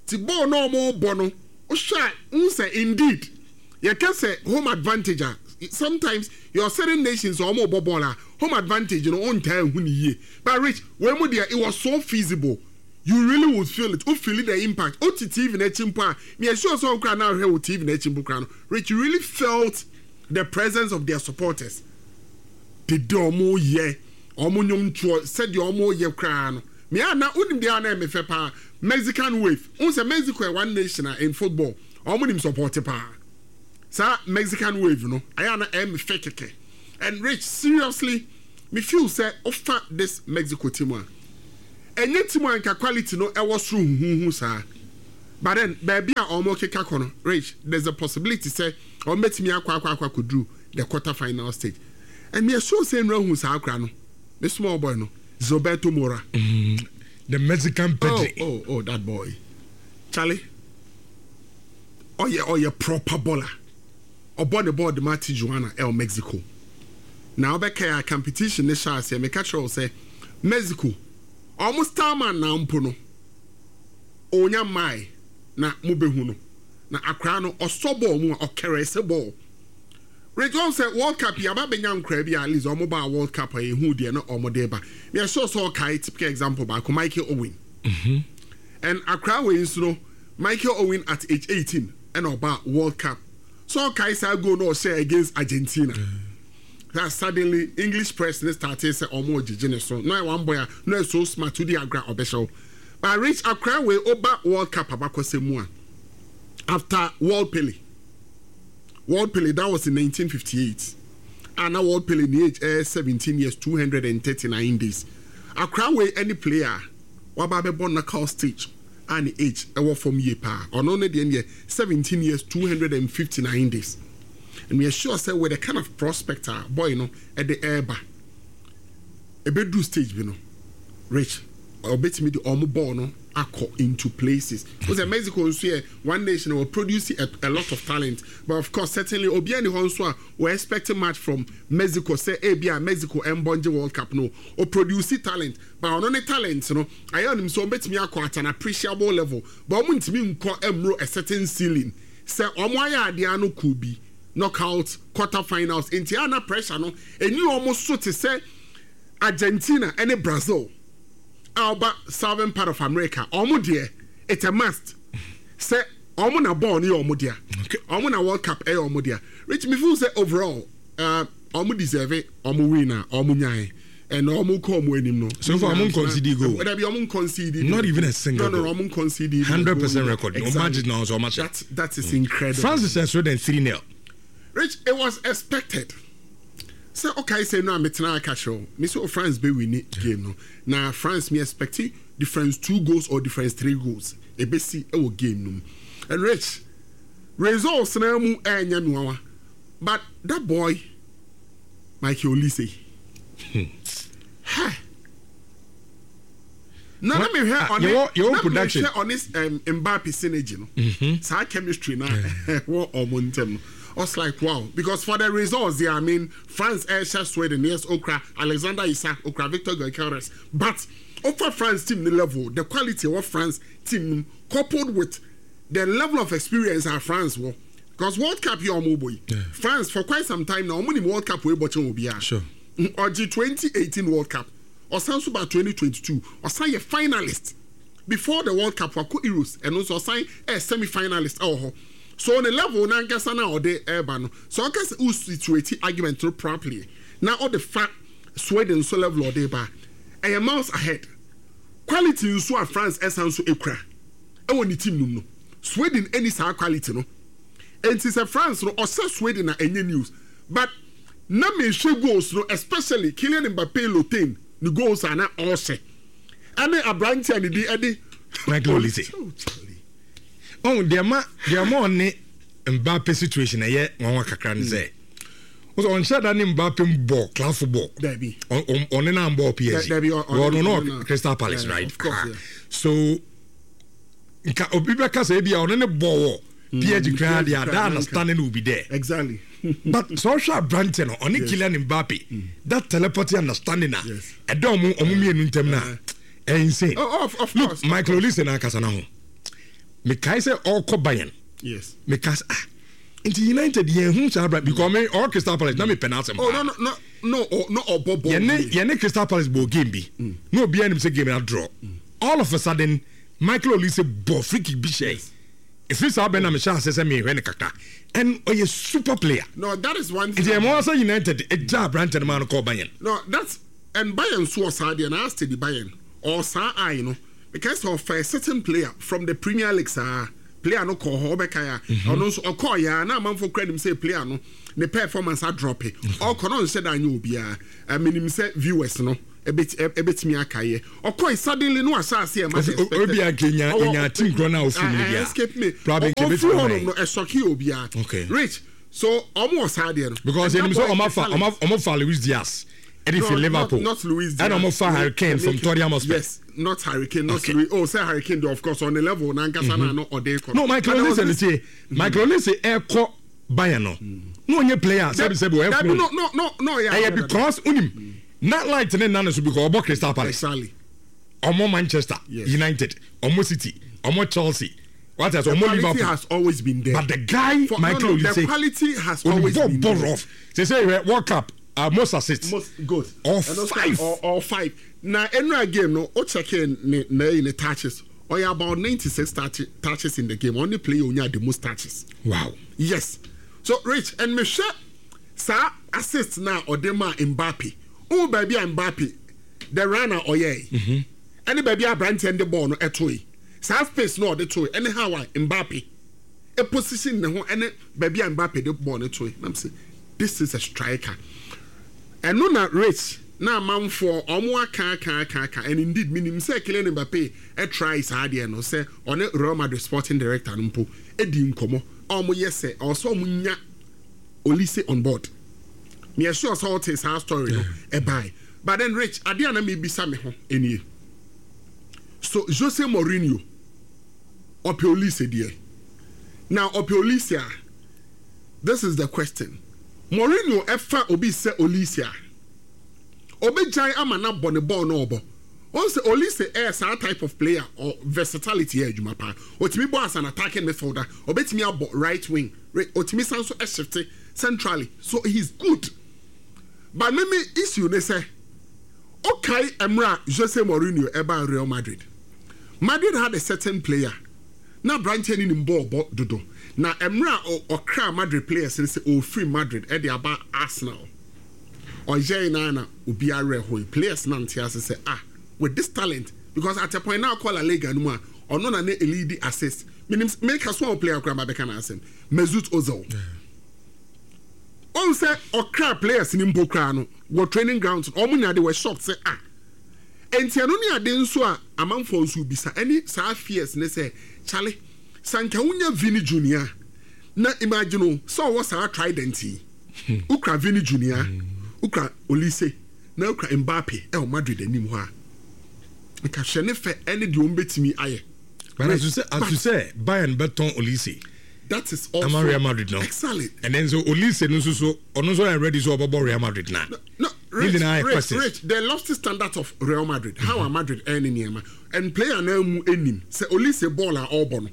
Ti ball na ɔmo bɔ no, ɔhwɛ a n sɛ indeed yɛka sɛ home advantage a, sometimes your certain nations ɔmo bɔ ball a, home advantage no ɔntaa ehu ne yie. But Rich, wɔn mu deɛ, it was so feasible, you really would feel it. O feel the impact. O ti T V n'akyi mpo a, mi sure sɛ ɔkura na ahwɛ wɔ T V n'akyi mpo kura no, Rich, you really felt the presence of their supporters. Dede ɔmo yɛ ɔmo nnwomtoɔ, sɛdeɛ ɔmo yɛ koraa no, mea na wonim deɛ a na ɛmɛ fɛ paa, Mexican wave n sɛ Mexico yɛ one nation a in football ɔmo nim support paa. Saa Mexican wave no ayɛ na ɛmɛ fɛ kɛkɛ. And Rich, seriously, me feel sɛ ɔfa this Mexico team a, ɛnyɛ team a nka quality no ɛwɔ soro huhuhu saa, but then baabi a ɔmo keka kɔ no, Rich, there's a possibility sɛ ɔmo bɛtumi akɔ akɔ akɔ akɔduru the quarter final stage. And me sure sɛ nnura hu saa akora no, me small boy no, Gilberto Mora.
Mm, the Mexican
Pedri. oh oh oh that boy, Charlie, ɔyɛ ɔyɛ proper baller. Ɔbɔ ne bɔɔl de ma Tijuana ɛwɔ Mexico. Na ɔbɛka a competition ne hyɛ aseɛ, meka kyerɛ wo sɛ Mexico ɔmo starman na mpo no onya mmae na mobɛhu no na akora no ɔsɔ bɔɔl mu a ɔkɛrɛ sɛ bɔɔl. Rich, wɔn sɛ World Cup yi aba bɛnya nkora bi a at least ɔmo ba World Cup a ehu deɛ na ɔmo de ba. Mɛ sure sɛ ɔkae typical example baako, Michael Owen.
Mm-hmm.
And akora wei nso no, Michael Owen at age eighteen ɛna ɔba World Cup. So ɔkae saa goal na ɔhyɛ against Argentina. Mm. That suddenly English press ne started sɛ ɔmo gyegye ne so na one boy a na so smart to di agra ɔbɛhyɛw. But Rich, akora wei ɔba World Cup abakɔsɛ mu a, after World Pele, World Pele, that was in nineteen fifty-eight, and na World Pele ne age ɛyɛ seventeen years two hundred and thirty-nine days. Akora wei, any player waba abɛbɔ knockout stage a ne age ɛwɔ fam yie paa, ɔno ne deɛ deɛ seventeen years two hundred and fifty-nine days. And we are sure say with the kind of prospect a boy no ɛde ɛɛba, ɛbɛduru stage bi no, Rich, ɔbɛtumi de ɔmo ball no akɔ into places o. Sɛ Mexico nso yɛ one nation wɔ produce a, a lot of talent, but of course certainly obiara ni hɔ nso a wɔ expect much from Mexico sɛ ebi a Mexico ɛmbɔ ngye World Cup no. O produce talent, but ɔno ne talent no ayɛ ɔnim sɛ ɔbɛtumi akɔ at an appreciable level, but ɔmo ntumi nkɔ ɛmuro a certain ceiling sɛ ɔmo ayɛ adeɛ ano could be knockout, quarter finals. Nti ana pressure no eni ɔmo so te sɛ Argentina ɛne Brazil a ɔba southern part of America. Ɔmo deɛ, it's a must sɛ ɔmo na bɔɔl no yɛ ɔmo dea, ɔmo na World Cup ɛyɛ ɔmo dea. Rich, me feel sɛ overall uh, ɔmo deserve ɔmo win a ɔmo nyae and ɔmo kɔ ɔmo anim no.
So far ɔmo concede goal.
Dabi, ɔmo concede.
Not even a single
no no
goal.
Ɔmo concede.
Hundred percent record.
Exactly.
Ɔmo agye na ɔmo ahyɛ.
that that is incredible.
France hyɛ Sweden three nil.
Rich, it was expected sɛ ɔkae sɛ no a metena aka kyerɛ wo me sɛ o France bɛ win game no na France me expect difference two goals or difference three goals ebesi ɛwɔ game no mu. And Rich, results na mu ɛnyɛ nwanwa, but that boy Michael Olise, ha na na mehwɛ
Ah,
ɔne
yɛwɔ- yɛwɔ
na
production.
mehwɛ ɔne um, Mbappe synergy no, saa chemistry na ɛwɔ ɔmo ntɛm no, I was like, wow, because for the results there, I mean, France ɛhyɛ Sweden, yes, okra Alexander Isak, okra Victor Gyökeres, but over France team the level, the quality of France team no, coupled with the level of experience our France wɔ, because World Cup yɛ ɔmo bɔ yi, France for quite some time now ɔmo nim World Cup wei bɔ kyɛn obiara.
Sure.
Ɔgye twenty eighteen World Cup, ɔsan so ba twenty twenty-two, ɔsan yɛ finalist. Before the World Cup, wakɔ Euros, ɛno nso ɔsan ɛyɛ semi finalist ɛwɔ hɔ. So ne level n'ankasa na ɔde ɛreba no, so ɔka sɛ o situate argument no properly na ɔde fa Sweden nso level ɔde ba, ɛyɛ miles ahead. Quality nso a France ɛsan so ekura ɛwɔ ne team no mu no, Sweden ɛni saa quality no. Nti sɛ France no ɔsɛ Sweden na ɛnyɛ news, but na mehwɛ goals no, especially Kylian Mbappe Lottin ne goals a na ɔhyɛ, ɛne aberante a ne din ɛde
Michael Olise.
Oh, Charlie.
Oh, deɛ ma deɛ ma ɔne Mbappe situation ɛyɛ nwanwa kakra ne sɛ ɔsɛ ɔnhyɛ da ne Mbappe bɔ club football.
Dabi.
Ɔ- ɔ- ɔne na mbɔ P S G.
Dabi, ɔ- ɔne-
ɔno no
ɔne na-
Crystal Palace,
Yeah,
right?
of course,
Ah.
yeah.
So nka obi bɛka sɛ ebi a ɔne ne bɔ wɔ P S G koraa deɛ,
P S G
that
koraa,
understanding will be there.
Exactly
but sɛ ɔhwɛ aberante no, ɔne Kylian Mbappe, that telepathy understanding a
Yes.
ɛda ɔmo ɔmo mmienu ntam no a, ɛyɛ insane.
Oh, of, of
Look,
course.
Michael Olise na akasa na ho, mekae sɛ ɔrekɔ Bayern,
yes
meka sɛ, ah, nti United yɛn hu saa abra, because me ɔwɔ Crystal Palace na mepɛ n'asɛm
Oh,
paa.
no no no no oh, no, ɔbɔ bɔ.
yɛne yɛne Crystal Palace bɔ game bi na obiara nim sɛ game na draw. All of a sudden, Michael Olise bɔ free kick bi hyɛ. Ɛfiri saa bɛn na mehyɛ ase sɛ mehwɛ ne kakra, and ɔyɛ super player.
No, that is one thing.
Nti ɛma sɛ United ɛgya aberante no ma no kɔɔ Bayern.
No, that's and Bayern so ɔsaa deɛ na steady Bayern ɔsaa eye no, because ɔfɛ a certain player from the Premier League, saa player no kɔɔ hɔ, ɔbɛka ya, ɔno nso ɔkɔɔ ya na amanfo kura nim sɛ player no ne performance adrop. Ɔkɔ no, nhyɛ da anyɛ obiara. Ɛmenim sɛ viewers no ɛbɛti ɛbɛtumi aka yɛ ɔkɔɔ, suddenly no ahyɛ ase ɛma
Ɔsi- o- obi a nke nya- nya team korɔ no a ofiri mu no bia.
Escape me.
Probably nke
Ɔfiri
bɛtumi
hɔ
ama
nom
yɛn.
no, ɛsɔke obiara.
Okay.
Rich, so ɔmo wɔ saa deɛ no.
Because
And
yɛnim
that
sɛ
boy
ɔma
is
fa
talent.
ɔma ɔmo fa Luis Diaz ɛde
No,
fi Liverpool.
Not, not Luis Diaz.
Ɛna ɔmo fa Harry Kane from Tottenham Hotspur.
Yes, not Harry Kane, not
Okay.
Luis. Oh, say Harry Kane, though, of course, on the level, nankasa na no ɔde kɔ.
No, Michael
But there was
Olise ne
this-
tie, Michael Olise ɛkɔ Bayern no na ɔnyɛ player sɛbi sɛbi ɔyɛ
Dabi,
phone.
no, no, no, no, yeah.
Ɛyɛ because unim na light ne nane so because ɔbɔ Crystal Palace,
Exactly.
ɔmo Manchester
Yes.
United, ɔmo City, ɔmo Chelsea, what else,
The
ɔmo
quality
Liverpool
has always been there.
But the guy
For,
Michael
no, no,
Olise
the quality has always
bɔ
been
bɔ
there.
rough sɛ sɛ yɛ World Cup, uh, most assists.
Most good.
Or
And also-
five.
Or, or five. Na enra game no, o check in ne ne ne touches. Or about ninety-six touch, touches in the game. Only player onya the most touches.
Wow
Yes. So Rich and me share saa assist na ɔde ma Mbappe. O baabi a Mbappe the runner ɔyɛ. Ɛne baabi a aberanteɛ de ball no ɛto yi. Saa space no ɔde to yi, ɛne how a Mbappe e position ne ho, ɛne baabi a Mbappe de ball no to yi. Na m sɛ this is a striker. Ɛno na Rich na amanfoɔ ɔmo aka aka aka aka, and indeed minim sɛ Kylian Mbappe ɛtry saa adeɛ no sɛ ɔne Real Madrid sporting director no mpo edi nkɔmɔ a ɔmo yɛ sɛ ɔsɛ ɔmo nya Olise on board. Meyɛ sure sɛ ɔte saa story no ɛbae. But then Rich, adeɛ a na mebisa me ho nie: so Jose Mourinho ɔpɛ Olise deɛ, na ɔpɛ Olise a, this is the question: Mourinho ɛfa obi sɛ Olise a, obegyae ama na bɔ ne bɔɔl na ɔbɔ ɔn sɛ Olise ɛyɛ saa type of player or versatility yɛ adwuma paa. Otumi bɔ as an attacking midfielder, obetumi abɔ right wing, Re- otumi san so ɛshifte centrally, so he's good. But mimi issue ne sɛ, okay, mmerɛ a Jose Mourinho ɛbaa Real Madrid, Madrid had a certain player na aberanteɛ no nim bɔɔl bɔ dodo, na mmerɛ a ɔ- ɔkra Madrid players no sɛ ɔfiri Madrid ɛde aba Arsenal, ɔyɛe na na obiara werɛ hoe. Players na nte ase sɛ, ah, with this talent, because at a point now kɔ La Liga no mu a, ɔno na ne lead assist. Menim meka so a player koraa ma bɛka n'asɛm, Mesut Ozil. Ɔn sɛ ɔkra players ni mpo koraa no wɔ training grounds, ɔmo nya de wɔ shocked sɛ, ah, nti ɛno ne ade nso a amanfoɔ nso bisa ɛne saa fears ne sɛ, chale, sanka wonya Vini Junior na imagine o sɛ ɔwɔ saa trident yi, wokura Vini Junior, wokura Olise na wokura Mbappe ɛwɔ Madrid anim hɔ a, nka hwɛ ne fɛ ɛne deɛ ɔmo bɛtumi ayɛ.
But as you say as you say Bayern bɛtɔn Olise
That is also
ama Real Madrid no.
Excellent.
And then so Olise no nso so, ɔno nso yɛ ready so ɔbɛbɔ Real Madrid na
No, Rich,
nyinaa yɛ
Rich,
questions.
Rich, the lofty standard of Real Madrid, how a Madrid ɛne nneɛma and player na mu anim sɛ Olise ball a ɔrebɔ no,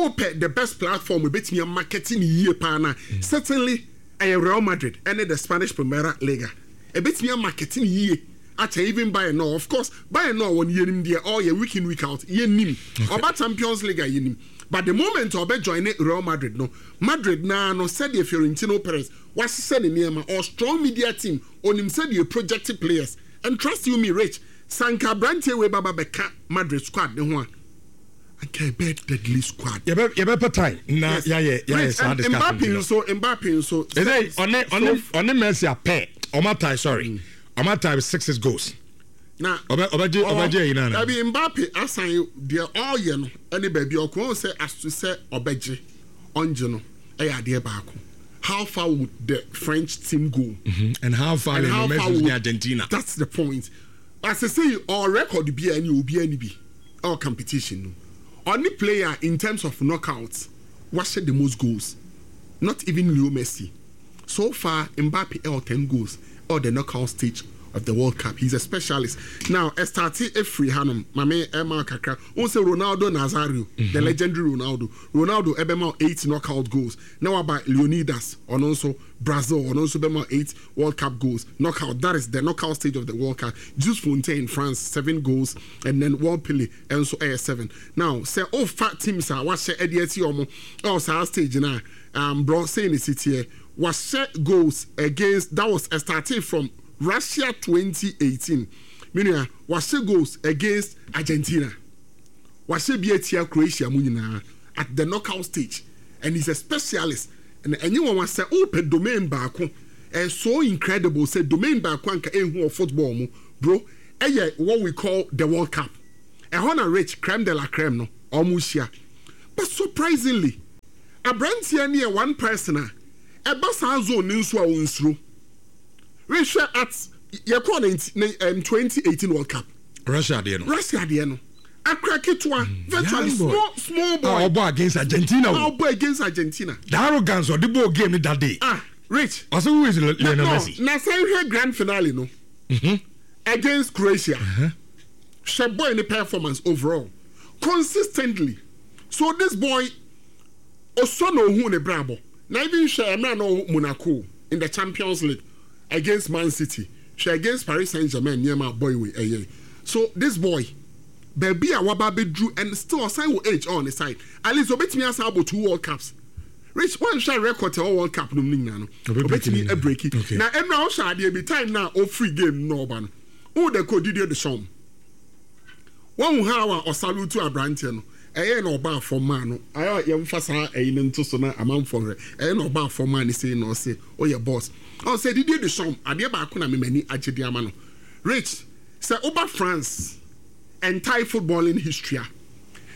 ɔpɛ the best platform ebetumi amarketing ne yie paa na certainly ɛyɛ Real Madrid ɛne the Spanish Primera Liga. Ebetumi amarketing ne yie Akyɛ even Bayern no, of course Bayern no wɔn yɛnim deɛ ɔyɛ week in, week out, yɛnim ɔba Champions League a yɛnim. But the moment ɔbɛ join Real Madrid no, Madrid naa no, sɛdeɛ Florentino Perez wahyehyɛ ne nneɛma or strong media team onim sɛdeɛ project players, and trust you me, Rich, sanka aberanteɛ wei baba bɛka Madrid squad ne ho a, anka ɛbɛ deadly squad.
Yɛbɛ yɛbɛpɛ time na yɛayɛ yɛayɛ saa discussion.
Mbappe nso Mbappe nso.
Ɛsɛ ɔne ɔne ɔne Messi apɛ ɔmo atie, sorry, ɔmo atie six six goals.
Na
ɔbɛ ɔbɛgye ɔbɛgye ɛyi nana.
Dabi, Mbappe asan deɛ ɔreyɛ no ɛne baabi ɔkò sɛ aso sɛ ɔbɛgye ɔngye no ɛyɛ adeɛ baako. How far would the French team go?
Mm-hmm. And how far and how far would Argentina?
That's the point. As I say, our record bi ɛne obi ɛni bi our competition no. Only player in terms of knockouts wahyɛ the most goals. Not even Leo Messi. So far, Mbappe ɛwɔ ten goals or the knockout stage of the World Cup. He's a specialist. Now, ɛstart efiri hanom, maame ɛma kakra. Wɔn sɛ Ronaldo Nazario, mm-hmm. the legendary Ronaldo. Ronaldo ɛbɛma eight knockout goals. Now about Leonidas, ɔno nso Brazil, ɔno nso bɛma eight World Cup goals. Knockout, that is the knockout stage of the World Cup. Just Fontaine, France, seven goals, and then World Pele, nso ɛyɛ seven. Now, sɛ ɔfa teams a wahyɛ ɛde ɛti ɔmo ɛwɔ saa stage na um, bro say ne si teɛ wahyɛ goals against, that was starting from Russia twenty eighteen. Menua, wahyɛ goals against Argentina, wahyɛ bi atia Croatia mu nyinaa at the knockout stage, and he's a specialist. And ɛnyɛ wɔn sɛ ɔpɛ domain baako, ɛyɛ so incredible sɛ domain baako anka ehu wɔ football mu, bro, ɛyɛ what we call the World Cup. Ɛhɔ na rich creme de la creme no ɔmo hyia. But surprisingly, aberanteɛ ne yɛ one person a ɛba saa zone ne nso a ɔnsuro rehwɛ at yɛkɔɔ ne um, twenty eighteen World Cup.
Russia deɛ no.
Russia deɛ no, akora ketewa, virtually small small boy.
A ɔbɔ against Argentina
o. A ɔbɔ against Argentina.
The arrogance ɔde bɔ game ni that day.
Ah, Rich.
Ɔsɛ, "Who is Lionel Messi?"
Na sɛ nhwɛ grand finale no mm-hmm. against Croatia, hwɛ boy ne performance overall consistently. So this boy osɔ na ohun ne brabɔ na even hwɛ ɛmɛ na ɔwɔ Monaco in the Champions League against Man City, hwɛ against Paris Saint Germain, nneɛma boy wei ɛyɛ. So this boy, baabi a waba abɛduru and still ɔsan wɔ age on the side, at least obetumi asan abɔ two World Cups. Rich, wɔn hwɛ record ɛwɔ World Cup no mu ne nyinaa no, obetumi abreak. Na ɛnu a ɔhyɛ adeɛ bi time na ofiri game no ɔba no, wɔn de kɔ Didier Deschamps, wɔn ha a ɔsalute aberanteɛ no, ɛyɛ na ɔba afɔm maa no, ayɛ yɛmfa saa ɛyi no nto so na amanfoɔ hwɛ, ɛyɛ na ɔba afɔm maa no sei na ɔse ɔyɛ boss. Ɔsɛ Didier Deschamps, adeɛ baako na memani agye de ama no, Rich, sɛ ɔba France entire footballing history a,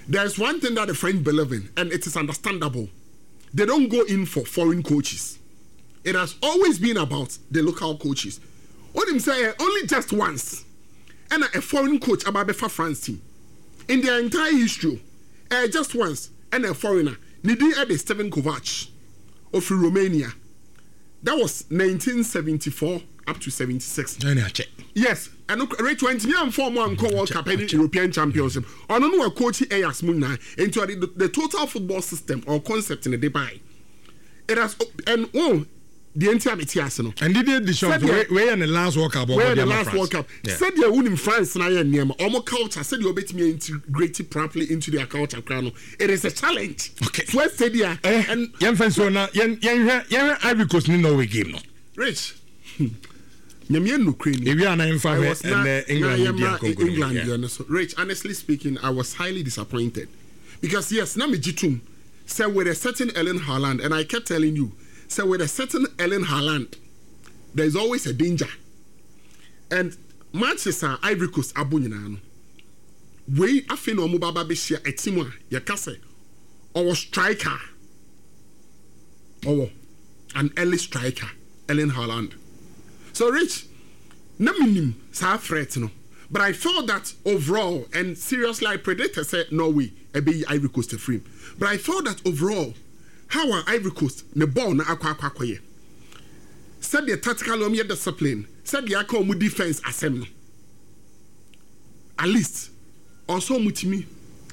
there is one thing that the French believe in, and it is understandable: they don't go in for foreign coaches. It has always been about the local coaches. Onim sɛ only just once ɛna a foreign coach aba abɛfa France team in their entire history. uh, just once ɛna a foreigner, ne din ɛde Steven Kovac, ofiri Romania. That was nineteen seventy-four up to seventy-six.
Ɛna akyɛ.
Yes, ɛno Rich, wɛntumi anfɔ ɔmo ankɔ World Cup ɛne European Championship. Ɔno no wɔ coach Ajax mu nyinaa, nti ɔde the, the total football system or concept ne de buy it has. And oh, deɛ nti a mete ase no.
And Didier Deschamps, wei yɛ ne last World Cup.
Wei yɛ the last World Cup. Sɛdeɛ wunim France na yɛ nneɛma, ɔmo culture, sɛdeɛ ɔbɛtumi integrate properly into their culture kora no, it is a challenge.
Okay.
So ɛsɛ deɛ.
Eh, yɛn fɛn so na yɛn yɛn hwɛ yɛn hwɛ Ivory Coast ni Norway game no.
Rich, nyamia nukuri ni.
Ewi ana nfa hwɛ ɛnɛ England di akonko.
England deɛ no so, Rich, honestly speaking, I was highly disappointed because yes, na me gye tum sɛ with a certain Erling Haaland, and I kept telling you sɛ with a certain Erling Haaland there is always a danger. And matches a Ivory Coast abo nyinaa no, wei afei na wɔn ba ba bɛhyia a team a yɛka sɛ ɔwɔ striker, ɔwɔ an early striker, Erling Haaland. So Rich, na minim saa threat no, but I felt that overall, and seriously, I predicted sɛ Norway ɛbɛyi Ivory Coast afiri mu, but I felt that overall, how a Ivory Coast ne ball na akɔ akɔ akɔyɛ, sɛdeɛ tactically wɔn yɛ discipline, sɛdeɛ aka wɔn defence asɛm no, at least ɔsɔ wɔn tumi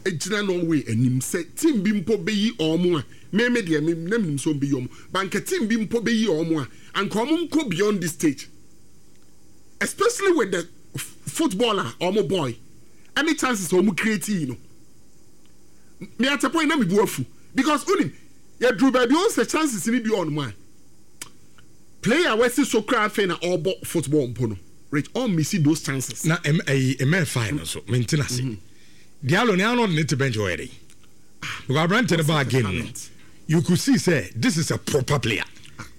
gyina Norway anim sɛ team bi mpo bɛyi wɔn a, mímí deɛ mi na mi nim sɛ wɔn bɛyi wɔn, but nka team bi mpo bɛyi wɔn a, anka wɔn nkɔ beyond this stage, especially with the Football a ɔmo boy ɛne chances a ɔmo create yi no, me at a point na me bu afu because onim yɛduru baabi ɔn sɛ chances ni bi ɔnom a player wɛsi so kora afei na ɔbɔ football mpo no, Rich, ɔn miss those chances.
Na ɛm ɛyi ɛmɛ five no so mente na se Diallo ne Arnold ne te bench hɔ yɛ de because aberante no baa game no, you could see say this is a proper player.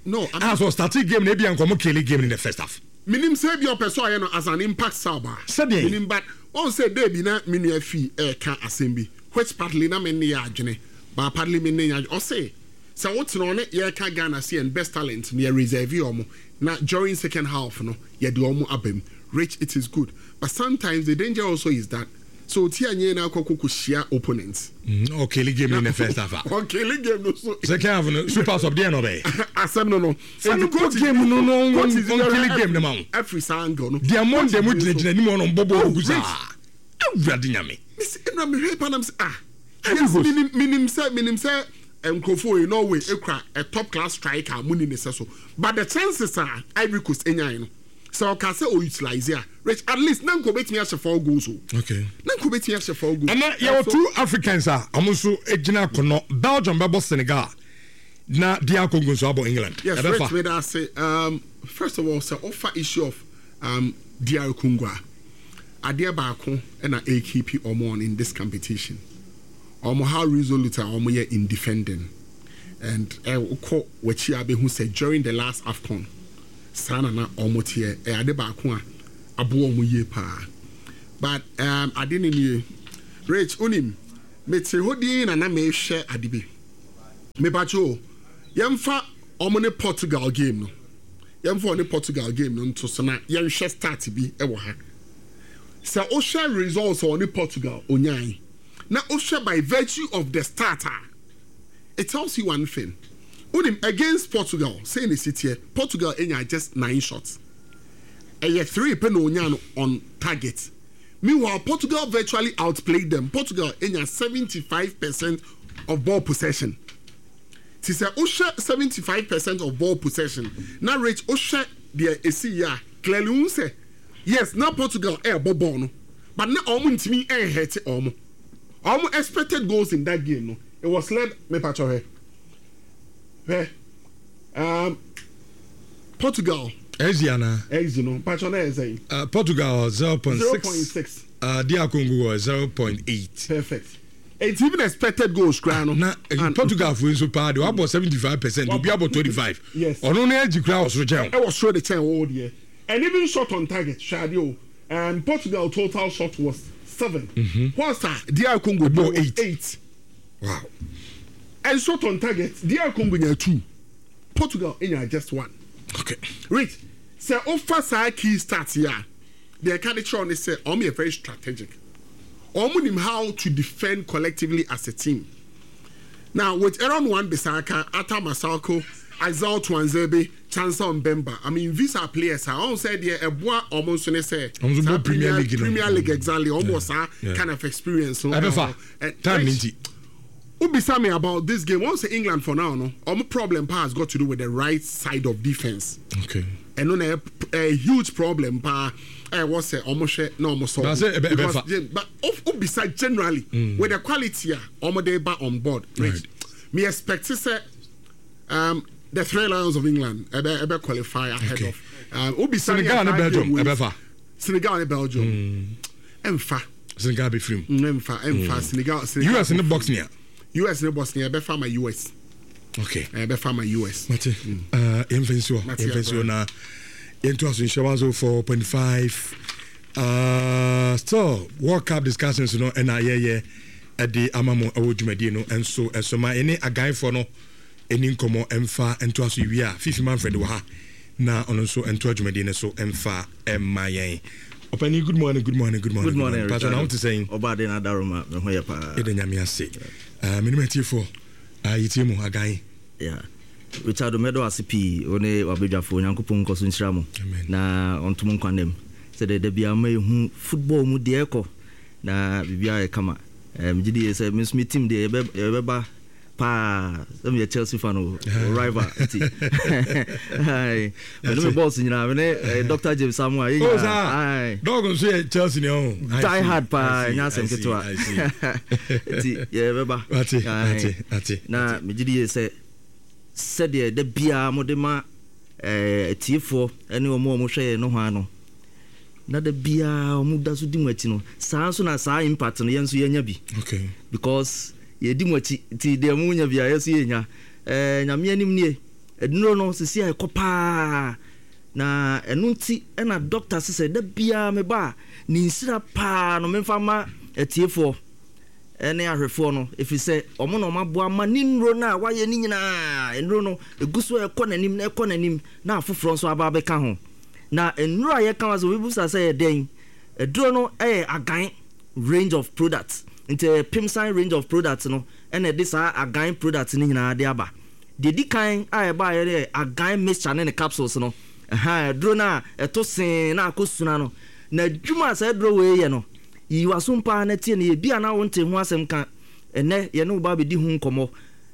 No, I mean,
ah, so starting game na ebi nkɔmɔ kill game in the first half.
Minim sɛ bi ɔpɛ sɛ ɔyɛ no as an impact sub a.
Sɛdeɛ?
Minim, but ɔn sɛ day bi na me nua fi ɛɛka asɛm bi which partly na me ne yɛ adwene but partly me ne yɛ adwene. Ɔse sɛ wotena ɔne yɛreka Ghana sɛ yɛn best talent no yɛ reserve ɔmo na during second half no yɛde ɔmo aba mu. Rich, it is good, but sometimes the danger also is that so oti anyɛ na akɔ kɔkɔ hyia opponents.
Mm, ɔkill game in the first half a.
Ɔkill game no so.
Second half no super sub deɛ na ɔbɛyɛ.
Asɛm no no.
Sani bɔ game no no ɔnkill game no ma wo.
Every saa angle no.
Deɛ mo ndɛ mo gyinagyina anim ɔno mbɔ bɔɔl gu saa. Awurade Nyame.
Misi ɛnna mehwɛ pa nam sɛ, ah, yes, minim minim sɛ minim sɛ nkurɔfoɔ yi Norway ekura a top class striker mu ni ne sɛ so, but the chances a Ivory Coast enyae no, sɛ ɔka sɛ o utilize a, Rich, at least na nka obetumi ahyɛ four goals o.
Okay.
Na nka obetumi ahyɛ four goals.
Ɛnɛ yɛwɔ two Africans a ɔmo nso gyina akɔnɔ. Belgium bɛbɔ Senegal na D R Congo nso abɔ England.
Yes.
Ɛbɛfa.
Rich, meda ase. um, first of all, sɛ ɔfa issue of um, D R Congo a, adeɛ baako ɛna A K P ɔmo on in this competition, ɔmo how resolute a ɔmo yɛ in defending, and ɛ wokɔ w'akyi a bɛhu sɛ during the last AFCON saa na na ɔmo teɛ. Ɛyɛ ade baako a aboa ɔmo yie paa, but um, ade ne nie, Rich, onim mete hɔ din na na mehwɛ ade bi. Mepatwo o, yɛmfa ɔmo ne Portugal game no, yɛmfa ɔne Portugal game no nto so na yɛnhwɛ start bi ɛwɔ ha. Sɛ wohwɛ results a ɔne Portugal onyae na wohwɛ by virtue of the start a, it tells you one thing. Wonim, against Portugal, sɛ ne si teɛ, Portugal enya just nine shots, ɛyɛ three pɛ na onya no on target. Meanwhile, Portugal virtually outplayed them. Portugal enya seventy five percent of ball possession. Ti sɛ wohwɛ seventy five percent of ball possession na, Rich, wohwɛ deɛ esi yie a, clearly n sɛ yes, na Portugal ɛɛbɔ ball no, but na ɔmo ntumi ɛnhɛte ɔmo ɔmo expected goals in that game no, it was led. Mepatwɔ, hwɛ hwɛ um, Portugal.
X G ana?
X G no, mpatwɔ, na yɛ sɛn?
Uh, Portugal zero point
zero point
six.
six.
Uh, D R Congo wɔ zero point eight.
Perfect. It's even expected goals koraa no.
Na eh,
And-
Portugal fo nso paa de wabɔ seventy five percent, obi abɔ twenty five.
Yes.
Ɔno no agyi kura wɔ soro kyɛn o.
Ɛwɔ soro de kyɛn wɔwɔ deɛ, and even shot on target, hwɛ adeɛ o, um, Portugal total shot was seven, mm-hmm. whilst a D R Congo
Ɛbɔɔ
was
eight.
Eight.
Wow.
And shot on target, D R Congo nya two, Portugal nya just one.
Okay.
Rich, sɛ ofa saa key start yi a, deɛ ɛka de kyerɛw ne sɛ ɔmo yɛ very strategic. Ɔmo nim how to defend collectively as a team. Now with Aaron Wan-Bissaka, Arthur Masuaku, Axel Tuanzebe, Chancel Mbemba, I mean, these are players a ɔmo sɛ deɛ ɛboa ɔmo nso ne sɛ
Ɔmo nso
saa
bɔ Premier League no.
Premier League, exactly, ɔmo wɔ saa
Yeah.
kind of experience no.
Ɛbɛfa.
Ɛwɔ.
Time ni nti.
Wobisa me about this game, wɔn sɛ England for now no, ɔmo problem pa has got to do with the right side of defence.
Okay.
Ɛno na ɛyɛ a huge problem paa ɛwɔ sɛ ɔmo hwɛ na ɔmo solve.
But sɛ ɛbɛ-
Because,
ɛbɛfa.
yeah, but wobisa generally with the quality a ɔmo de ba on board, right,
Right.
me expect sɛ um, the Three Lions of England ɛbɛ ɛbɛ qualify ahead
Okay.
of um, wobisa
Senegal ne Belgium ɛbɛfa.
Senegal ne Belgium ɛmfa.
Senegal bɛ firi mu.
Ɛmfa, ɛmfa Senegal Senegal
U S ne Bosnia.
U S ne Bosnia, ɛbɛfa ma U S.
Okay.
Ɛbɛfa ma U S.
Mate, uh, yɛmfa nsi hɔ.
Mate.
Yɛmfa nsi hɔ na yɛnto aso nhyɛ one oh four point five. uh, still World Cup discussions no ɛna yɛyɛ ɛde ama mo ɛwɔ dwumadie no ɛnso ɛso ma ɛne aganfoɔ no ɛni nkɔmmɔ ɛmfa nto aso. Wie a, Fifi Manfred wɔ ha na ɔno nso ɛnto dwumadie no so ɛmfa ɛmma yɛn. Ɔpani, good morning, good morning, good morning.
Good morning.
Patro, na wote sɛn?
Ɔbaade na adaroma, me ho yɛ paa.
Yɛda Nyame ase. uh, menim atiefoɔ uh, yɛtie mu agan.
Yeah. Richard, mɛdɔ ase pii, wo ne wabadwafoɔ. Onyankopɔn nkɔ so nhyira mo
Amen.
na ɔntom nkwa nam sɛdeɛ da biara ma yɛhu football mu deɛ ɛkɔ na biribiara yɛ kama. Eh, megye die sɛ me nso me team deɛ yɛbɛ- yɛbɛba Paa, sɛ meyɛ Chelsea fan o, rival nti mene me boss nyinaa, mene eh, Doctor James Samoa, yɛ
Oh,
nyinaa.
saa.
Aye.
Dɔg nso yɛ Chelsea ni ɔho.
Die hard paa, ɛnyɛ asɛm ketewa, nti yɛbɛba.
Ate,
Aye.
ate, ate.
Na megye di yie sɛ sɛdeɛ da biara mode ma eh, atiefoɔ ne ɔmo a ɔmo hwɛ yɛn no hɔ ano na da biara ɔmo da so di mu akyi no, saa nso na saa impact no yɛn nso yɛnya bi
Okay.
because yɛdi mu akyi, nti deɛ mo nya bi a, yɛ nso yɛnya. ɛɛ Nyame anim nie, ɛduro no sisi a ɛkɔ paa, na ɛno nti ɛna doctor sisɛ da biara meba a, ne nsira paa no memfa ma atiefoɔ ɛne ahwɛfoɔ no, ɛfiri sɛ ɔmo na ɔmo aboa ma ne nnuro no a wayɛ ne nyinaa. Nnuro no ɛgu so a ɛkɔ n'anim na ɛkɔ n'anim na afoforɔ nso aba abɛka ho. Na nnuro a yɛka wa sɛ obi busa sɛ yɛ dɛn aduro no, ɛyɛ Agan range of products, nti ɛyɛ Pimsan range of products no ɛna ɛde saa Agan products no nyinaa de aba. Deɛ di kan a ɛbaeɛ no yɛ Agan mixture ne ne capsules no. Ɛha aduro no a ɛto see na akɔ suna no na adwuma a saa aduro wei yɛ no, yiyi w'asom paa na tie no yɛ bi a na wonte ho asɛm ka. Ɛnɛ yɛne wo ba bɛdi ho nkɔmmɔ.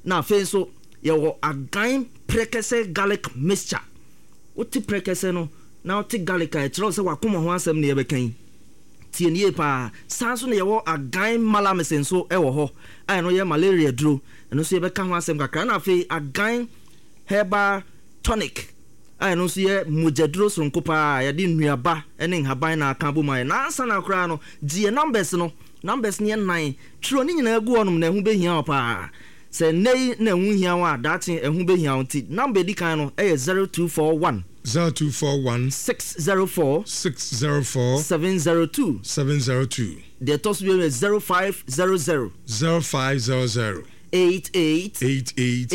Na afei nso yɛwɔ Agan Prɛkɛsɛ garlic mixture. Wote prɛkɛsɛ no na wote garlic a, ɛkyerɛ wo sɛ wakoma ho asɛm ne yɛbɛka yi. Tie ne yie paa. Saa nso na yɛwɔ Agan Malamis nso ɛwɔ hɔ a ɛno yɛ malaria duro. Ɛno nso yɛbɛka ho asɛm kakra. Na afei Agan herbal tonic a ɛno nso yɛ mogyaduro soronko paa a yɛde nnuaba ne nhaban na aka bom ayɛ. Na ansa na koraa no, gye yɛ numbers no. Numbers no yɛ nnan. Twerɛ ne nyinaa gu hɔnom na ɛho bɛhia wo paa. Sɛ nnɛ yi na ɛho hia wo a, daakye ɛho bɛhia wo. Nti number edi kan no ɛyɛ zero two four one.
zero two four one.
six zero four.
six zero four.
seven zero two.
seven zero two.
Deɛ ɛtɔ so bio yɛ zero five zero zero.
zero five zero zero.
eight eight.
eight eight.